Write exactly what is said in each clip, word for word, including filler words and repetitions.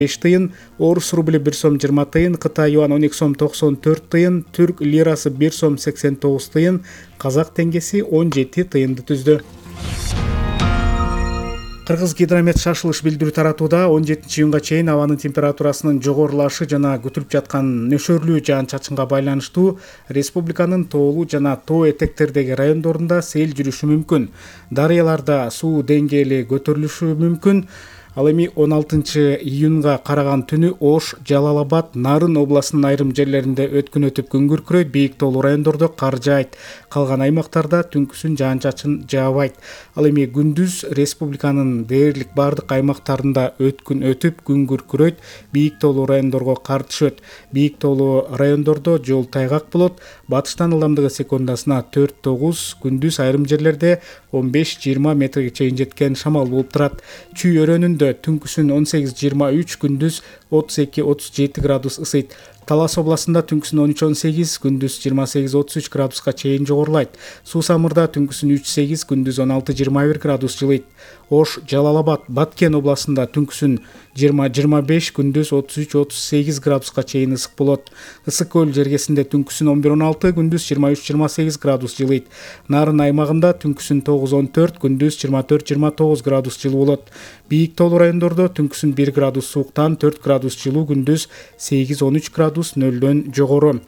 беш тыйын, орус рубли бир сом жыйырма тыйын, Кытай юан он эки сом токсон төрт тыйын, түрк лирасы бир сом сексен тогуз тыйын, казак теңгеси он жети тыйынды түздү. Кыргыз гидромет шашылыш билдирүү таратууда он жетинчи июнга чейин абанын температурасынын жогорулашы жана күтүлүп жаткан нөшөрлүү жаан-чачынга байланыштуу республиканын тоолуу жана тоо этектердеги райондорунда сел жүрүшү мүмкүн. Дарыяларда суу деңгээли көтөрүлүшү мүмкүн. Ал эми он алтынчы июнга караган түнү Ош, Жалал-Абад, Нарын областынын айрым жерлеринде өткүн өтүп күн күркүрөйт, бийик тоолуу райондордо кар жаайт. Калган аймактарда түнкүсүн жаан-чачын жаабайт. Ал эми күндүз республиканын дээрлик бардык аймактарында өткүн өтүп күн күркүрөйт, бийик тоолуу райондорго кар түшөт. Бийик тоолуу райондордо жол тайгак болот. Батыштан ылдамдыгы секундасына төрт тогуз, күндүз айрым жерлерде он беш жыйырма метрге чейин жеткен шамал болуп турат. Чүй өрөөнүндө түнкүсүн он сегиз жыйырма үч, күндүз отуз эки отуз жети градус ысыйт. Талас областында түнкүсүн он үч он сегиз, күндүз жыйырма сегиз отуз үч градуска чейин жогорулайт. Суу Самырда түнкүсүн үч сегиз, күндүз он алты жыйырма бир градус жылыйт. Ош, Жалал-Абад, Баткен областында түнкүсүн жыйырма жыйырма беш, күндүз отуз үч отуз сегиз градуска чейин ысык болот. Ысык көл жергесинде түнкүсүн он бир он алты, күндүз жыйырма үч жыйырма сегиз градус жылыйт. Нарын аймагында түнкүсүн тогуз он төрт, күндүз жыйырма төрт жыйырма тогуз градус жылуу болот. Бийик тоолуу райондордо түнкүсүн бир градус сууктан төрт градус жылуу, күндүз сегиз он үч градус нөлдөн жогору.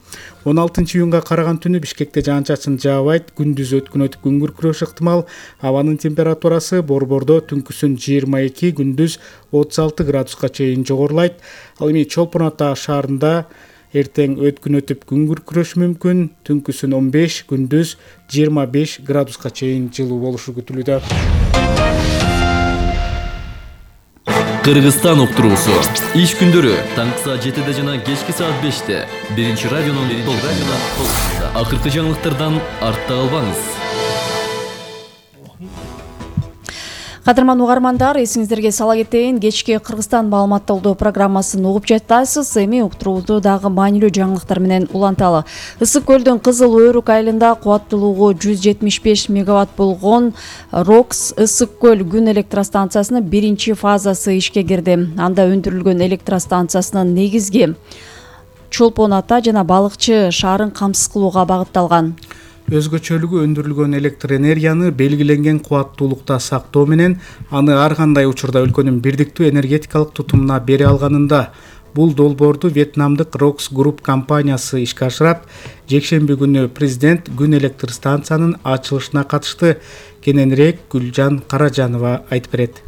он алтынчы июнга караган түнү Бишкекте жаан-чачын жаабайт, күндүз өткүн өтүп күн күркүрөшү ыктымал. Абанын температурасы Борбордо түнкүсүн жыйырма эки, күндүз отуз алты градуска чейин жогорулайт. Ал эми Чолпон Ата шаарында эртең өткүн өтүп күн күркүрөшү мүмкүн, түнкүсүн он беш, күндүз жыйырма беш градуска чейин жылуу болушу күтүлүүдө. Кыргызстан уктуруусу. Иш күндөрү таңкы саат жетиде жана кечки саат беште. Биринчи радионун толкунунда. Акыркы жаңылыктардан артта калбаңыз. Кадырман угармандар, эсиңиздерге сала кетейин, кечки Кыргызстан маалыматталдоо программасын угуп жатасыз. Эми уктурууда дагы маанилүү жаңылыктар менен уланталы. Ысык көлдүн Кызыл Өрүк айылында кубаттуулугу жүз жетимиш беш мегаватт болгон Рокс ысык көл күн электростанциясынын биринчи фазасы ишке кирди. Анда өндүрүлгөн электростанциясынын негизги Чолпон Ата жана Балыкчы шаарын камсыз кылууга багытталган. Өзгөчөлүгү өндүрүлгөн электр энергияны белгиленген кубаттуулукта сактоо менен аны ар кандай учурда өлкөнүн бирдиктүү энергетикалык тутумуна бере алганында. Бул долбоорду Вьетнамдык Рокс Групп компаниясы ишке ашырат. Жекшемби күнү президент күн электр станциянын ачылышына катышты. Кененирээк Гүлжан Каражанова айтып берет.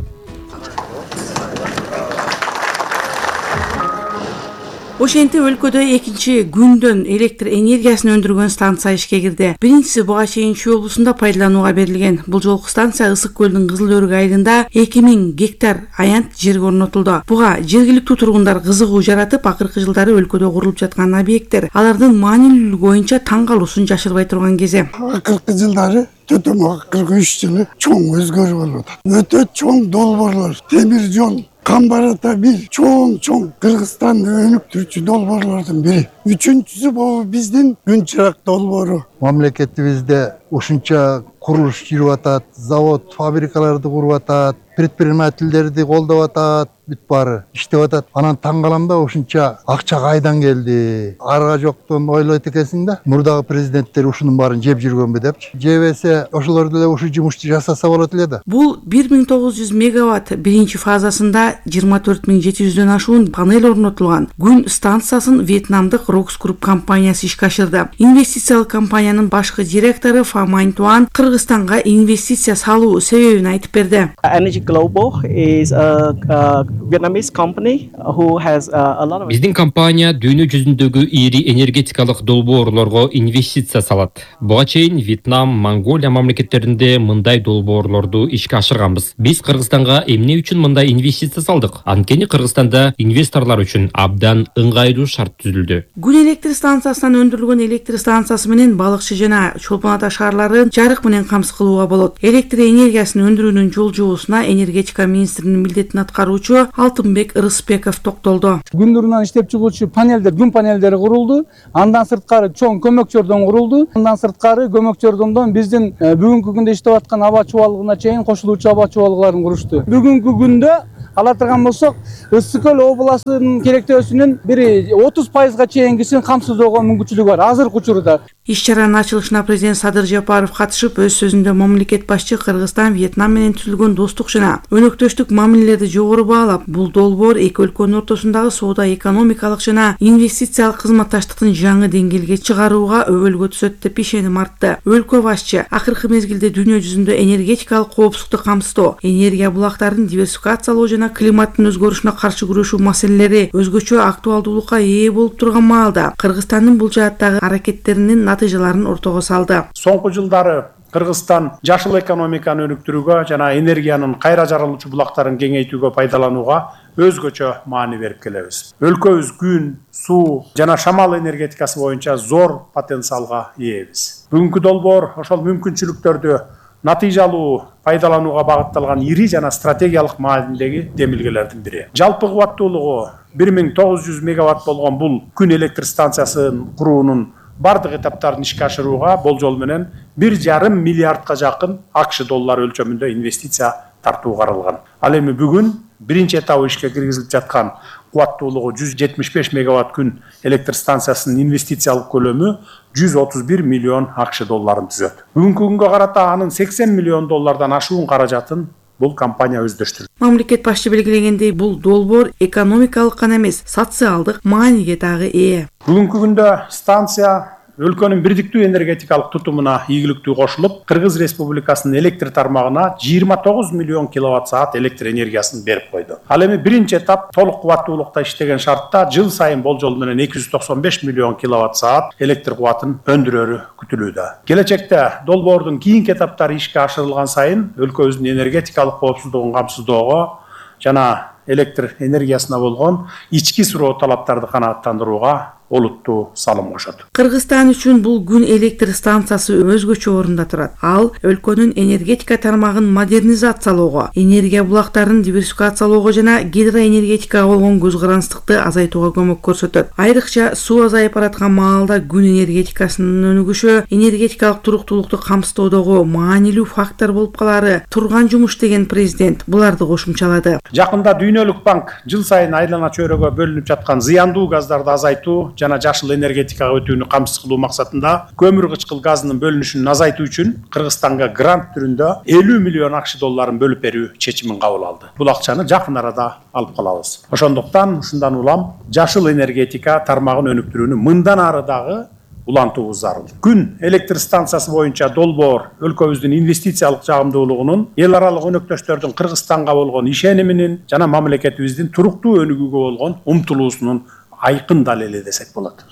Ошентип өлкөдө экинчи күндөн электр энергиясын өндүргөн станция ишке кирди. Биринчиси буга чейин Чүй облусунда пайдаланууга берилген. Бул жолку станция Ысык көлдүн Кызыл Өрүк айылында эки миң гектар аянт жерге орнотулду. Буга жергиликтүү тургундар кызыгуу жаратып, акыркы жылдары өлкөдө курулуп жаткан объекттер алардын маанилүүлүгү боюнча таң калуусун жашырбай турган кези. Акыркы жылдары төтөм акыркы үч жылы чоң өзгөрүү болуп атат. Өтө чоң долбоорлор, темир жол, Камбарата бир чоң-чоң Кыргызстанды өнүктүрүүчү долбоорлордун бири. Үчүнчүсү бул биздин күн чырак долбоору. Мамлекетибизде ушунча курулуш жүрүп атат, завод, фабрикаларды куруп атат, предпринимательдерди колдоп атат, бүт баары иштеп атат. Анан таң калам да, ушунча акча кайдан келди? Арга жоктон ойлойт экенсиң да. Мурдагы президенттер ушунун баарын жеп жүргөнбү депчи. Жебесе ошолор деле ушу жумушту жасаса болот эле да. Бул бир миң тогуз жүз мегаватт биринчи фазасында жыйырма төрт миң жети жүздөн ашуун панель орнотулган күн станциясын Вьетнамдык Рокс Групп компаниясы ишке ашырды. Инвестициялык компаниянын башкы директору Фа Майнтуан Кыргызстанга инвестиция салуу себебин айтып берди. Energy Global is a, a Vietnamese company who has a lot of Биздин компания дүйнө жүзүндөгү ири энергетикалык долбоорлорго инвестиция салат. Буга чейин Вьетнам, Монголия мамлекеттеринде мындай долбоорлорду ишке ашырганбыз. Биз Кыргызстанга эмне үчүн мындай инвестиция салдык? Анткени Кыргызстанда инвесторлор үчүн абдан ыңгайлуу шарт түзүлдү. Күн электр станциясынан өндүрүлгөн электр станциясы менен Балыкчы жана Чолпон Ата шаарларын жарык менен камсыз кылууга болот. Электр энергиясын өндүрүүнүн жолжобусуна энергетика министринин милдетин аткаруучу Алтынбек Ырысбеков токтолду. Күндүрүнөн иштеп чыгуучу панелдер, күн панелдери курулду. Андан сырткары чоң көмөкчөрдөн курулду. Андан сырткары көмөкчөрдөн биздин бүгүнкү күндө иштеп аткан аба чубалыгына чейин кошулуучу аба чубалыкларын курушту. Бүгүнкү күндө ала турган болсок, Ысык көл областынын керектөөсүнүн бир отуз пайызга чейингисин камсыздоого мүмкүнчүлүгү бар азыркы учурда. Иш чаранын ачылышына президент Садыр Жапаров катышып, өз сөзүндө мамлекет башчы Кыргызстан Вьетнам менен түзүлгөн достук жана өнөктөштүк мамилелерди жогору баалап, бул долбоор эки өлкөнүн ортосундагы соода экономикалык жана инвестициялык кызматташтыктын жаңы деңгээлге чыгарууга өбөлгө түзөт деп ишеним артты. Өлкө башчы акыркы мезгилде дүйнө жүзүндө энергетикалык коопсуздукту камсыздоо, энергия булактарын диверсификациялоо жана климаттын өзгөрүшүнө каршы күрөшүү маселелери өзгөчө актуалдуулукка ээ болуп турган маалда Кыргызстандын бул жааттагы аракеттеринин натыйжаларын ортого салды. Соңку жылдары Кыргызстан жашыл экономиканы өнүктүрүүгө жана энергиянын кайра жарылуучу булактарын кеңейтүүгө пайдаланууга өзгөчө маани берип келебиз. Өлкөбүз күн, суу жана шамал энергетикасы боюнча зор потенциалга ээбиз. Бүгүнкү долбоор ошол мүмкүнчүлүктөрдү натыйжалуу пайдаланууга багытталган ири жана стратегиялык маанидеги демилгелердин бири. Жалпы кубаттуулугу бир миң тогуз жүз мегаватт болгон бул күн электр станциясын куруунун бардык этаптарын ишке ашырууга болжол менен бир жарым миллиардка жакын АКШ доллары өлчөмүндө инвестиция тартуу каралган. Ал эми бүгүн биринчи этабы ишке киргизилип жаткан кубаттуулугу жүз жетимиш беш мегаватт күн электр станциясынын инвестициялык көлөмү жүз отуз бир миллион АКШ долларын түзөт. Бүгүнкү күнгө карата анын сексен миллион доллардан ашуун каражатын бул компания өздөрүштүрдү. Мамлекет башчы белгилегендей, бул долбоор экономикалык гана эмес, социалдык мааниге дагы ээ. Бүгүнкү күндө станция өлкөнүн бирдиктүү энергетикалык тутумуна ийгиликтүү кошулуп, Кыргыз Республикасынын электр тармагына жыйырма тогуз миллион киловатт саат электр энергиясын берип койду. Ал эми биринчи этап толук кубаттуулукта иштеген шартта жыл сайын болжол менен эки жүз токсон беш миллион киловатт саат электр кубатын өндүрөрү күтүлүүдө. Келечекте долбоордун кийинки этаптары ишке ашырылган сайын өлкөбүздүн энергетикалык коопсуздугун камсыздоого жана электр энергиясына болгон ички суроо талаптарды канааттандырууга олуттуу салым кошот. Кыргызстан үчүн бул күн электр станциясы өзгөчө орунда турат. Ал өлкөнүн энергетика тармагын модернизациялоого, энергия булактарын диверсификациялоого жана гидроэнергетикага болгон көз карандыкты азайтууга көмөк көрсөтөт. Айрыкча суу азайып бараткан маалда күн энергетикасынын өнүгүшү энергетикалык туруктуулукту камсыздоодогу маанилүү фактор болуп калары турган жумуш деген президент буларды кошумчалады. Жакында Дүйнөлүк банк жыл сайын айлана чөйрөгө бөлүнүп жаткан зыяндуу газдарды азайтуу жана жашыл энергетикага өтүүнү камсыз кылуу максатында көмүр кычкыл газынын бөлүнүшүн азайтуу үчүн Кыргызстанга грант түрүндө элүү миллион АКШ долларын бөлүп берүү чечимин кабыл алды. Бул акчаны жакын арада алып калабыз. Ошондуктан ушундан улам жашыл энергетика тармагын өнүктүрүүнү мындан ары дагы улантуубуз зарыл. Күн электр станциясы боюнча долбоор өлкөбүздүн инвестициялык жагымдуулугунун, эл аралык өнөктөштөрдүн Кыргызстанга болгон ишениминин жана мамлекетибиздин туруктуу өнүгүүгө болгон умтулуусунун айкын далили десек болот.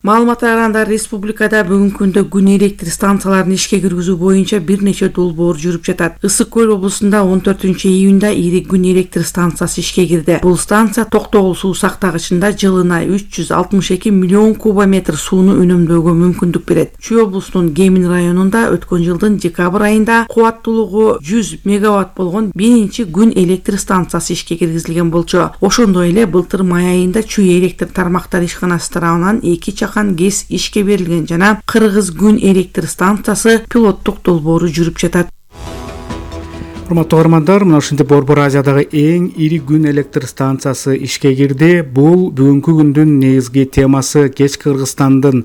Маалыматтар арасында республикада бүгүнкү күндө күн электр станцияларын ишке киргизүү боюнча бир нече долбоор жүрүп жатат. Ысык көл облусунда он төртүнчү июнда ири күн электр станциясы ишке кирди. Бул станция Токтогул суу сактагычында жылына үч жүз алтымыш эки миллион кубометр сууну үнөмдөөгө мүмкүндүк берет. Чүй облусунун Гемин районунда өткөн жылдын декабрь айында кубаттуулугу жүз мегаватт болгон биринчи күн электр станциясы ишке киргизилген болчу. Ошондой эле былтыр май айында Чүй электр тармактар ишканасы тарабынан эки гез ишке берилген жана Кыргыз күн электр станциясы пилоттук долбоору жүрүп жатат. Урматтуу угармандар, мына ушинтип Борбор Азиядагы эң ири күн электр станциясы ишке кирди. Бул бүгүнкү күндүн негизги темасы. Кеч Кыргызстандын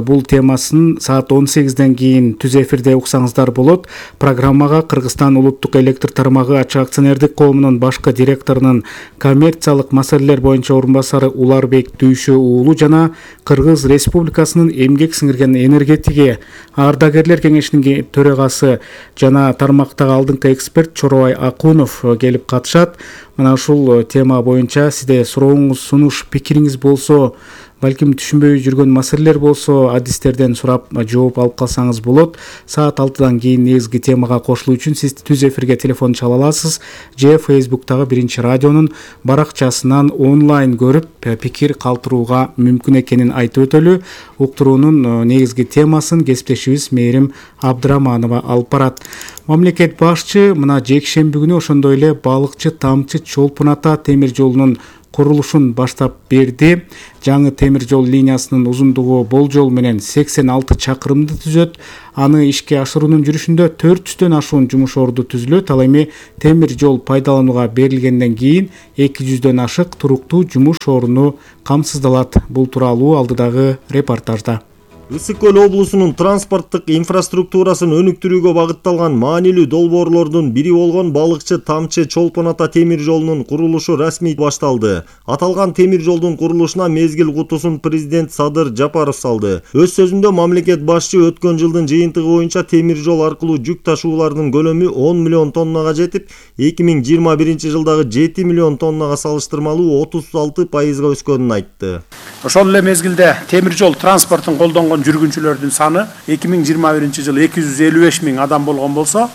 бул темасын саат он сегизден кийин түз эфирде уксаңыздар болот. Программага Кыргызстан улуттук электр тармагы ачык акционердик коомунун башкы директорунун коммерциялык маселелер боюнча орун басары Уларбек Дүйшө уулу жана Кыргыз Республикасынын эмгек сиңирген энергетиги ардагерлер кеңешинин төрагасы жана тармактагы алдыңкы эксперт Чоробай Акунов келип катышат. Мына ушул тема боюнча сизде сурооңуз, сунуш, пикириңиз болсо, балким түшүнбөй жүргөн маселелер болсо, адистерден сурап жооп алып калсаңыз болот. Саат алтыдан кийин негизги темага кошулуу үчүн сиз түз эфирге телефон чала аласыз же Фейсбуктагы Биринчи радионун баракчасынан онлайн көрүп пикир калтырууга мүмкүн экенин айтып өтөлү. Уктуруунун негизги темасын кесиптешибиз Мээрим Абдыраманова алып барат. Мамлекет башчы мына жекшемби күнү ошондой эле балыкчы Тамчы Чолпун ата темир жолунун курулушун баштап берди. Жаңы темир жол линиясынын узундугу болжол менен сексен алты чакырымды түзөт. Аны ишке ашыруунун жүрүшүндө төрт жүздөн ашуун жумуш орду түзүлөт. Ал эми темир жол пайдаланууга берилгенден кийин эки жүздөн ашык туруктуу жумуш орну камсыздалат. Бул тууралуу алдыдагы репортажда. Ысык көл облусунун транспорттук инфраструктурасын өнүктүрүүгө багытталган маанилүү долбоорлордун бири болгон Балыкчы Тамчы Чолпон Ата темир жолунун курулушу расмий башталды. Аталган темир жолдун курулушуна мезгил кутусун президент Садыр Жапаров салды. Өз сөзүндө мамлекет башчы өткөн жылдын жыйынтыгы боюнча темир жол аркылуу жүк ташуулардын көлөмү он миллион тоннага жетип, эки миң жыйырма биринчи жылдагы жети миллион тоннага салыштырмалуу отуз алты пайызга өскөнүн айтты. Ошол эле мезгилде темир жол транспортун колдонгон жүргүнчүлөрдүн саны эки миң жыйырма биринчи жылы эки жүз элүү беш миң адам болгон болсо,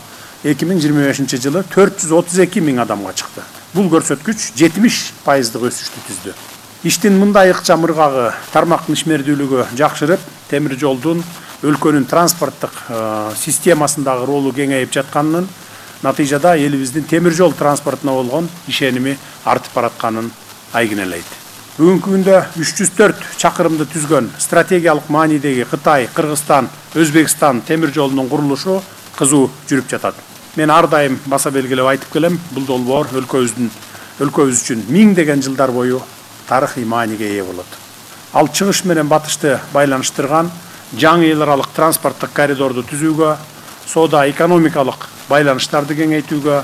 эки миң жыйырма бешинчи жылы төрт жүз отуз эки миң адамга чыкты. Бул көрсөткүч жетимиш пайыздык өсүштү түздү. Иштин мындай ыкчам ыргагы тармактын ишмердүүлүгү жакшырып, темир жолдун өлкөнүн транспорттук системасындагы ролу кеңейип жатканын, натыйжада элибиздин темир жол транспортуна болгон ишеними артып баратканын айгинелейт. Бүгүнкү күндө үч жүз төрт чакырымды түзгөн стратегиялык маанидеги Кытай, Кыргызстан, Өзбекстан темир жолунун курулушу кызуу жүрүп жатат. Мен ар дайым баса белгилеп айтып келем, бул долбоор өлкөбүздүн өлкөбүз үчүн миңдеген жылдар бою тарыхый мааниге ээ болот. Ал чыгыш менен батышты байланыштырган жаңы эл аралык транспорттук коридорду түзүүгө, соода экономикалык байланыштарды кеңейтүүгө,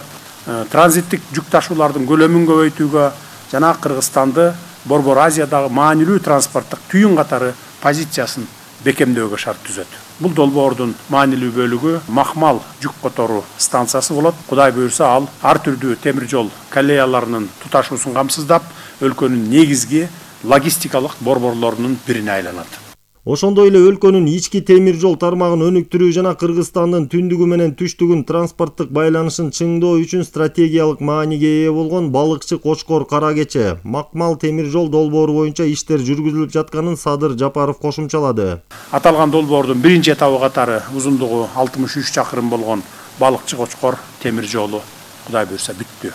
транзиттик жүк ташуулардын көлөмүн көбөйтүүгө жана Кыргызстанды Борбор Азиядагы маанилүү транспорттук түйүн катары позициясын бекемдөөгө шарт түзөт. Бул долбоордун маанилүү бөлүгү Махмал жүк которуу станциясы болот. Кудай буйрса, ал ар түрдүү темир жол коллеяларынын туташуусун камсыздап, өлкөнүн негизги логистикалык борборлорунун бирине айланат. Ошондой эле өлкөнүн ички темир жол тармагын өнүктүрүү жана Кыргызстандын түндүгү менен түштүгүн транспорттук байланышын чыңдоо үчүн стратегиялык мааниге ээ болгон Балыкчы Кочкор Кара Кече Макмал темир жол долбоору боюнча иштер жүргүзүлүп жатканын Садыр Жапаров кошумчалады. Аталган долбоордун биринчи этабы катары узундугу алтымыш үч чакырым болгон Балыкчы Кочкор темир жолу Кудай буйрса бүттү.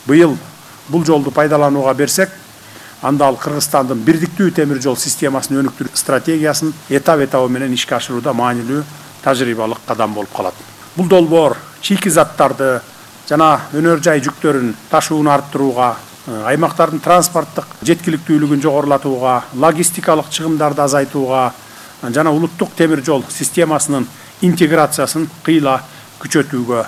Быйыл бул жолду пайдаланууга берсек, анда ал Кыргызстандын бирдиктүү темир жол системасын өнүктүрүү стратегиясын этап-этабы менен ишке ашырууда маанилүү тажрыйбалык кадам болуп калат. Бул долбоор чийки заттарды жана өнөр жай жүктөрүн ташууну арттырууга, аймактардын транспорттук жеткиликтүүлүгүн жогорулатууга, логистикалык чыгымдарды азайтууга жана улуттук темир жол системасынын интеграциясын кыйла күчөтүүгө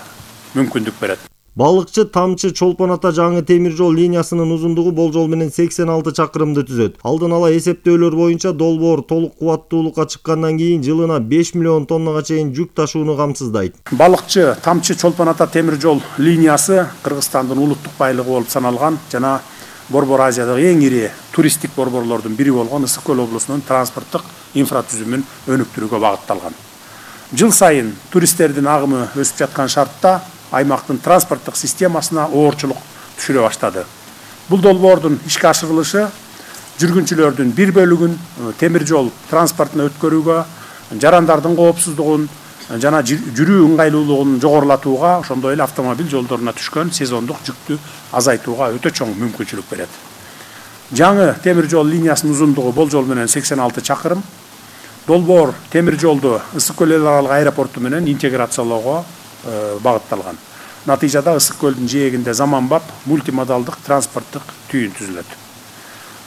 мүмкүндүк берет. Балыкчы Тамчы Чолпон Ата жаңы темир жол линиясынын узундугу болжол менен сексен алты чакырымды түзөт. Алдын ала эсептөөлөр боюнча долбоор толук кубаттуулукка чыккандан кийин жылына беш миллион тоннага чейин жүк ташууну камсыздайт. Балыкчы Тамчы Чолпон Ата темир жол линиясы Кыргызстандын улуттук байлыгы болуп саналган жана Борбор Азиядагы эң ири туристтик борборлордун бири болгон Ысык көл облусунун транспорттук инфратүзүмүн өнүктүрүүгө багытталган. Жыл сайын туристтердин агымы өсүп жаткан шартта аймактын транспорттук системасына оорчулук түшүрө баштады. Бул долбоордун ишке ашырылышы жүргүнчүлөрдүн бир бөлүгүн темир жол транспортуна өткөрүүгө, жарандардын коопсуздугун жана жүрүү ыңгайлуулугун жогорулатууга, ошондой эле автомобиль жолдоруна түшкөн сезондук жүктү азайтууга өтө чоң мүмкүнчүлүк берет. Жаңы темир жол линиясынын узундугу болжол менен сексен алты чакырым. Долбоор темир жолду Ысык көл эл аралык аэропорту менен интеграциялоого багытталган. Натыйжада Ысык көлдүн жээгинде заманбап мультимодалдык транспорттук түйүн түзүлөт.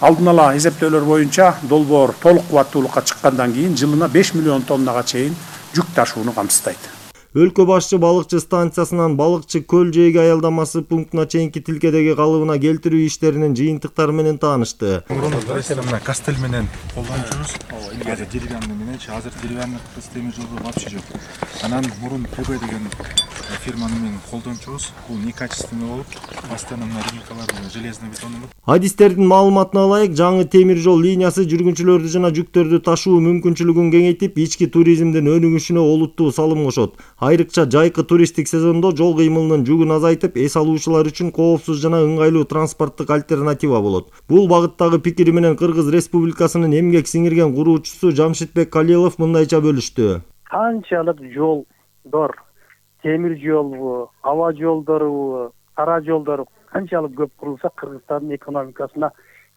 Алдын ала эсептөөлөр боюнча долбоор толук кубаттуулукка чыккандан кийин жылына беш миллион тоннага чейин жүк ташууну камсыздайт. Өлкө башчы Балыкчы станциясынан Балыкчы көл жээги аялдамасы пунктуна чейинки тилкедеги калыбына келтирүү иштеринин жыйынтыктары менен таанышты. Мына кастель менен колдончубуз. Азыр деревянный менен, азыр деревянный темир жолу вообще жок. Анан мурун ПБ деген фирманы менен колдончубуз. Бул некачественный болуп, постоянно мына рейкаларды железный бетонун. Адистердин маалыматына ылайык, жаңы темир жол линиясы жүргүнчүлөрдү жана жүктөрдү ташуу мүмкүнчүлүгүн кеңейтип, ички туризмдин өнүгүшүнө олуттуу салым кошот. Айрыкча жайкы туристтик сезондо жол кыймылынын жүгүн азайтып, эс алуучулар үчүн коопсуз жана ыңгайлуу транспорттук альтернатива болот. Бул багыттагы пикири менен Кыргыз Республикасынын эмгек сиңирген куруучусу Жамшитбек Калилов мындайча бөлүштү. Канчалык жолдор, темир жолбу, аба жолдору, кара жолдор канчалык көп курулса Кыргызстандын экономикасына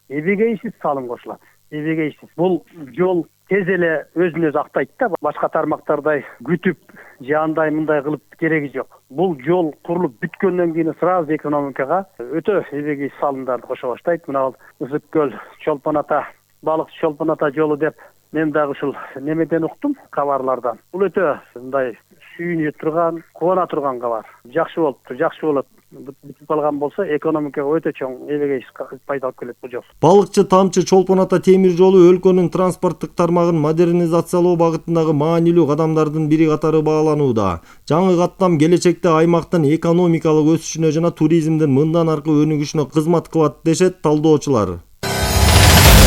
эбегейсиз салым кошулат. Эбегейсиз. Бул жол тез эле өзүн өзү актайт да, башка тармактардай күтүп же андай мындай кылып кереги жок. Бул жол курулуп бүткөндөн кийин сразу экономикага өтө эбегейсиз салымдарды кошо баштайт. Мына Ысык көл, Чолпон ата, балыкчы Чолпон ата жолу деп мен дагы ушул немеден уктум, кабарлардан. Бул өтө мындай сүйүнө турган, кубана турган кабар. Жакшы болуптур, жакшы болот. Бүтүп калган болсо экономикага өтө чоң эбегейсиз пайда алып келет бул жол. Балыкчы Тамчы Чолпон ата темир жолу өлкөнүн транспорттук тармагын модернизациялоо багытындагы маанилүү кадамдардын бири катары бааланууда. Жаңы каттам келечекте аймактын экономикалык өсүшүнө жана туризмдин мындан аркы өнүгүшүнө кызмат кылат дешет талдоочулар.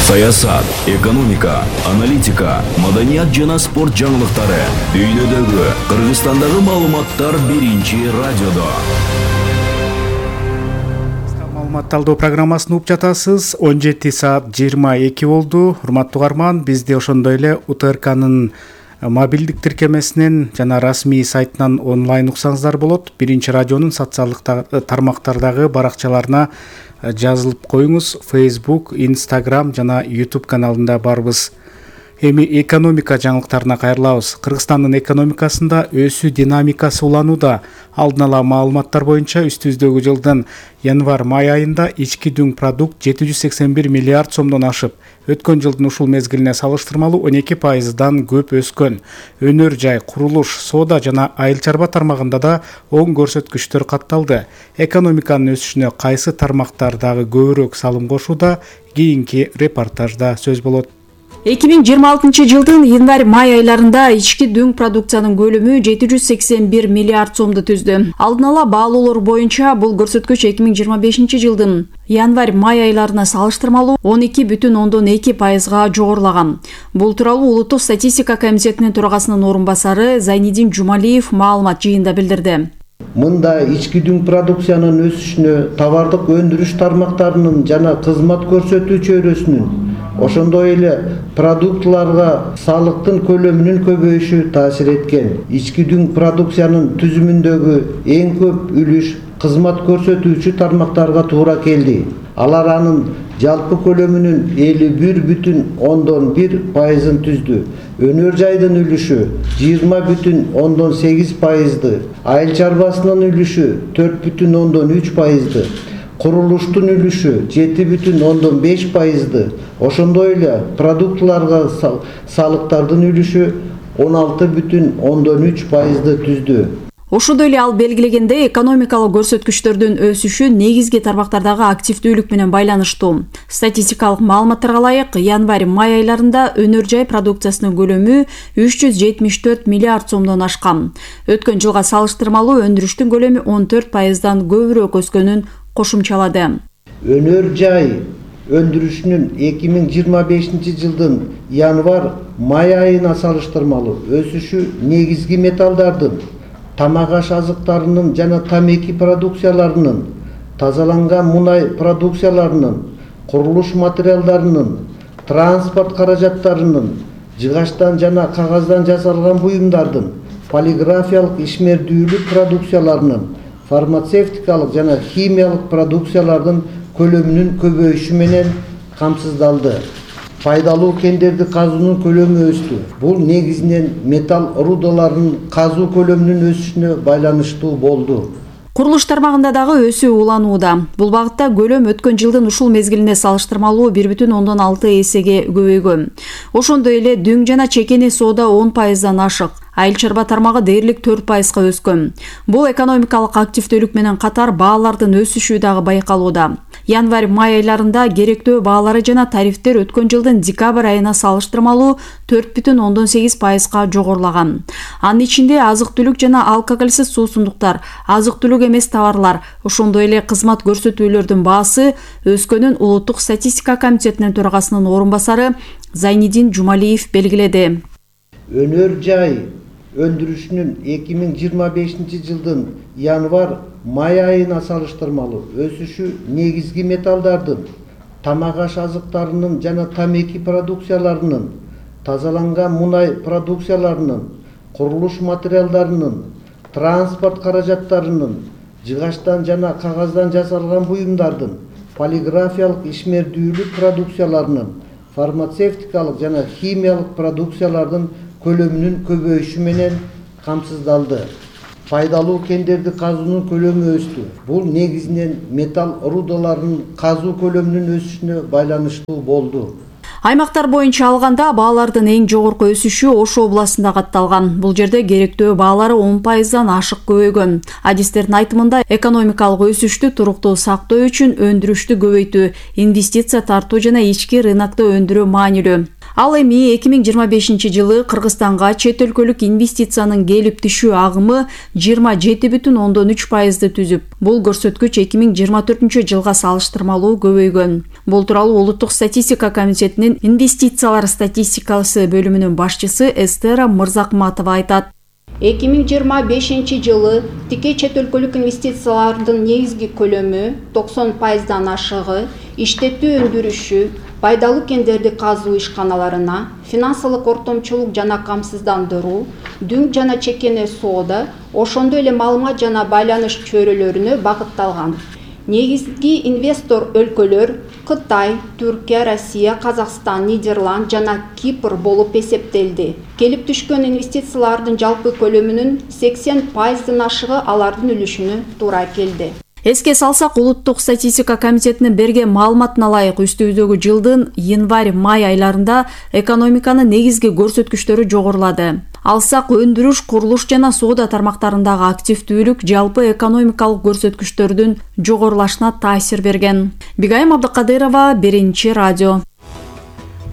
Саясат, экономика, аналитика, маданият жана спорт жаңылыктары дүйнөдөгү, Кыргызстандагы маалыматтар биринчи радиодо. Маалымат талдоо программасын угуп жатасыз. он жети саат жыйырма эки болду. Урматтуу угарман, бизде ошондой эле У Т Р К'нын мобилдик тиркемесинен жана расмий сайтынан онлайн уксаңыздар болот. Биринчи радионун социалдык тармактардагы баракчаларына жазылып коюңуз. Facebook, Instagram жана YouTube каналында барбыз. Эми экономика жаңылыктарына кайрылабыз. Кыргызстандын экономикасында өсүү динамикасы уланууда. Алдын ала маалыматтар боюнча үстүбүздөгү жылдын январь-май айында ички дүң продукт жети жүз сексен бир миллиард сомдон ашып, өткөн жылдын ушул мезгилине салыштырмалуу он эки пайыздан көп өскөн. Өнөр жай, курулуш, соода жана айыл чарба тармагында да оң көрсөткүчтөр катталды. Экономиканын өсүшүнө кайсы тармактардагы көбүрөөк салым кошууда? Кийинки репортажда сөз болот. эки миң жыйырма алтынчы жылдын январь-май айларында ички дүң продукциянын көлөмү жети жүз сексен бир миллиард сомду түздү. Алдын ала баалоолор боюнча бул көрсөткүч эки миң жыйырма бешинчи жылдын январь-май айларына салыштырмалуу он эки бүтүн ондон эки пайызга жогорулаган. Бул тууралуу Улуттук статистика комитетинин төрагасынын орун басары Зайнидин Жумалиев маалымат жыйында билдирди. Мында ички дүң продукциянын өсүшүнө товардык өндүрүш тармактарынын жана кызмат көрсөтүү чөйрөсүнүн, ошондой эле продуктларга салыктын көлөмүнүн көбөйүшү таасир эткен. Ички дүң продукциянын түзүмүндөгү эң көп үлүш кызмат көрсөтүүчү тармактарга туура келди. Алар анын жалпы көлөмүнүн элүү бир бүтүн ондон бир пайызын түздү. Өнөр жайдын үлүшү жыйырма бүтүн ондон сегиз пайызды, айыл чарбасынын үлүшү төрт бүтүн ондон үч пайызды, курулуштун үлүшү жети бүтүн ондон беш пайызды, ошондой эле продуктларга салыктардын үлүшү он алты бүтүн ондон үч пайызды түздү. Ошондой эле ал белгилегендей, экономикалык көрсөткүчтөрдүн өсүшү негизги тармактардагы активдүүлүк менен байланыштуу. Статистикалык маалыматтарга ылайык, январь-май айларында өнөр жай продукциясынын көлөмү үч жүз жетимиш төрт миллиард сомдон ашкан. Өткөн жылга салыштырмалуу өндүрүштүн көлөмү он төрт пайыздан көбүрөөк өскөнүн кошумчалады. Өнөр жай өндүрүшүнүн эки миң жыйырма бешинчи жылдын январь-май айына салыштырмалуу өсүшү негизги металлдардын, тамак аш азыктарынын жана тамеки продукцияларынын, тазаланган мунай продукцияларынын, курулуш материалдарынын, транспорт каражаттарынын, жыгачтан жана кагаздан жасалган буюмдардын, полиграфиялык ишмердүүлүк продукцияларынын, фармацевтикалык жана химиялык продукциялардын көлөмүнүн көбөйүшү менен камсыздалды. Пайдалуу кендерди казуунун көлөмү өстү. Бул негизинен металл рудаларынын казуу көлөмүнүн өсүшүнө байланыштуу болду. Курулуш тармагында дагы өсүү уланууда. Бул багытта көлөм өткөн жылдын ушул мезгилине салыштырмалуу бир бүтүн ондон алты эсеге көбөйгөн. Ошондой эле дүң жана чекени соода он пайыздан ашык. Айыл чарба тармагы дээрлик төрт пайызга өскөн. Бул экономикалык активдүүлүк менен катар баалардын өсүшү дагы байкалууда. Январь-май айларында керектөө баалары жана тарифтер өткөн жылдын декабрь айына салыштырмалуу төрт бүтүн ондон сегиз пайызга жогорулаган. Анын ичинде азык-түлүк жана алкоголсиз суусундуктар, азык-түлүк эмес товарлар, ошондой эле кызмат көрсөтүүлөрдүн баасы өскөнүн Улуттук статистика комитетинин төрагасынын орун басары Зайнидин Жумалиев белгиледи. Өнөр жай өндүрүшүнүн эки миң жыйырма бешинчи жылдын январь-май айына салыштырмалуу өсүшү негизги металлдардын, тамак аш азыктарынын жана тамеки продукцияларынын, тазаланган мунай продукцияларынын, курулуш материалдарынын, транспорт каражаттарынын, жыгачтан жана кагаздан жасалган буюмдардын, полиграфиялык ишмердүүлүк продукцияларынын, фармацевтикалык жана химиялык продукциялардын көлөмүнүн көбөйүшү менен камсыздалды. Пайдалуу кендерди казуунун көлөмү өстү. Бул негизинен металл рудаларынын казуу көлөмүнүн өсүшүнө байланыштуу болду. Аймактар боюнча алганда баалардын эң жогорку өсүшү Ош областында катталган. Бул жерде керектөө баалары он пайыздан ашык көбөйгөн. Адистердин айтымында экономикалык өсүштү туруктуу сактоо үчүн өндүрүштү көбөйтүү, инвестиция тартуу жана ички рынокто өндүрүү маанилүү. Ал эми эки миң жыйырма бешинчи жылы Кыргызстанга чет өлкөлүк инвестициянын келип түшүү агымы жыйырма жети бүтүн ондон үч пайызды түзүп, бул көрсөткүч эки миң жыйырма төртүнчү жылга салыштырмалуу көбөйгөн. Бул тууралуу Улуттук статистика комитетинин инвестициялар статистикасы бөлүмүнүн башчысы Эстера Мырзакматова айтат. эки миң жыйырма бешинчи жылы тике чет өлкөлүк инвестициялардын негизги көлөмү токсон пайыздан ашыгы, иштетүү өндүрүшү, пайдалуу кендерди казуу ишканаларына, финансылык ортомчулук жана камсыздандыруу, дүң жана чекене соода, ошондой эле маалымат жана байланыш чөйрөлөрүнө багытталган. Негизги инвестор өлкөлөр Кытай, Түркия, Россия, Казакстан, Нидерланд жана Кипр болуп эсептелди. Келип түшкөн инвестициялардын жалпы көлөмүнүн сексен пайыздын ашыгы алардын үлүшүнө туура келди. Эске салсак, Улуттук статистика комитетинин берген маалыматына ылайык үстүбүздөгү жылдын январь-май айларында экономиканын негизги көрсөткүчтөрү жогорулады. Алсак, өндүрүш, курулуш жана соода тармактарындагы активдүүлүк жалпы экономикалык көрсөткүчтөрдүн жогорулашына таасир берген. Бигайым Абдыкадырова, Биринчи радио.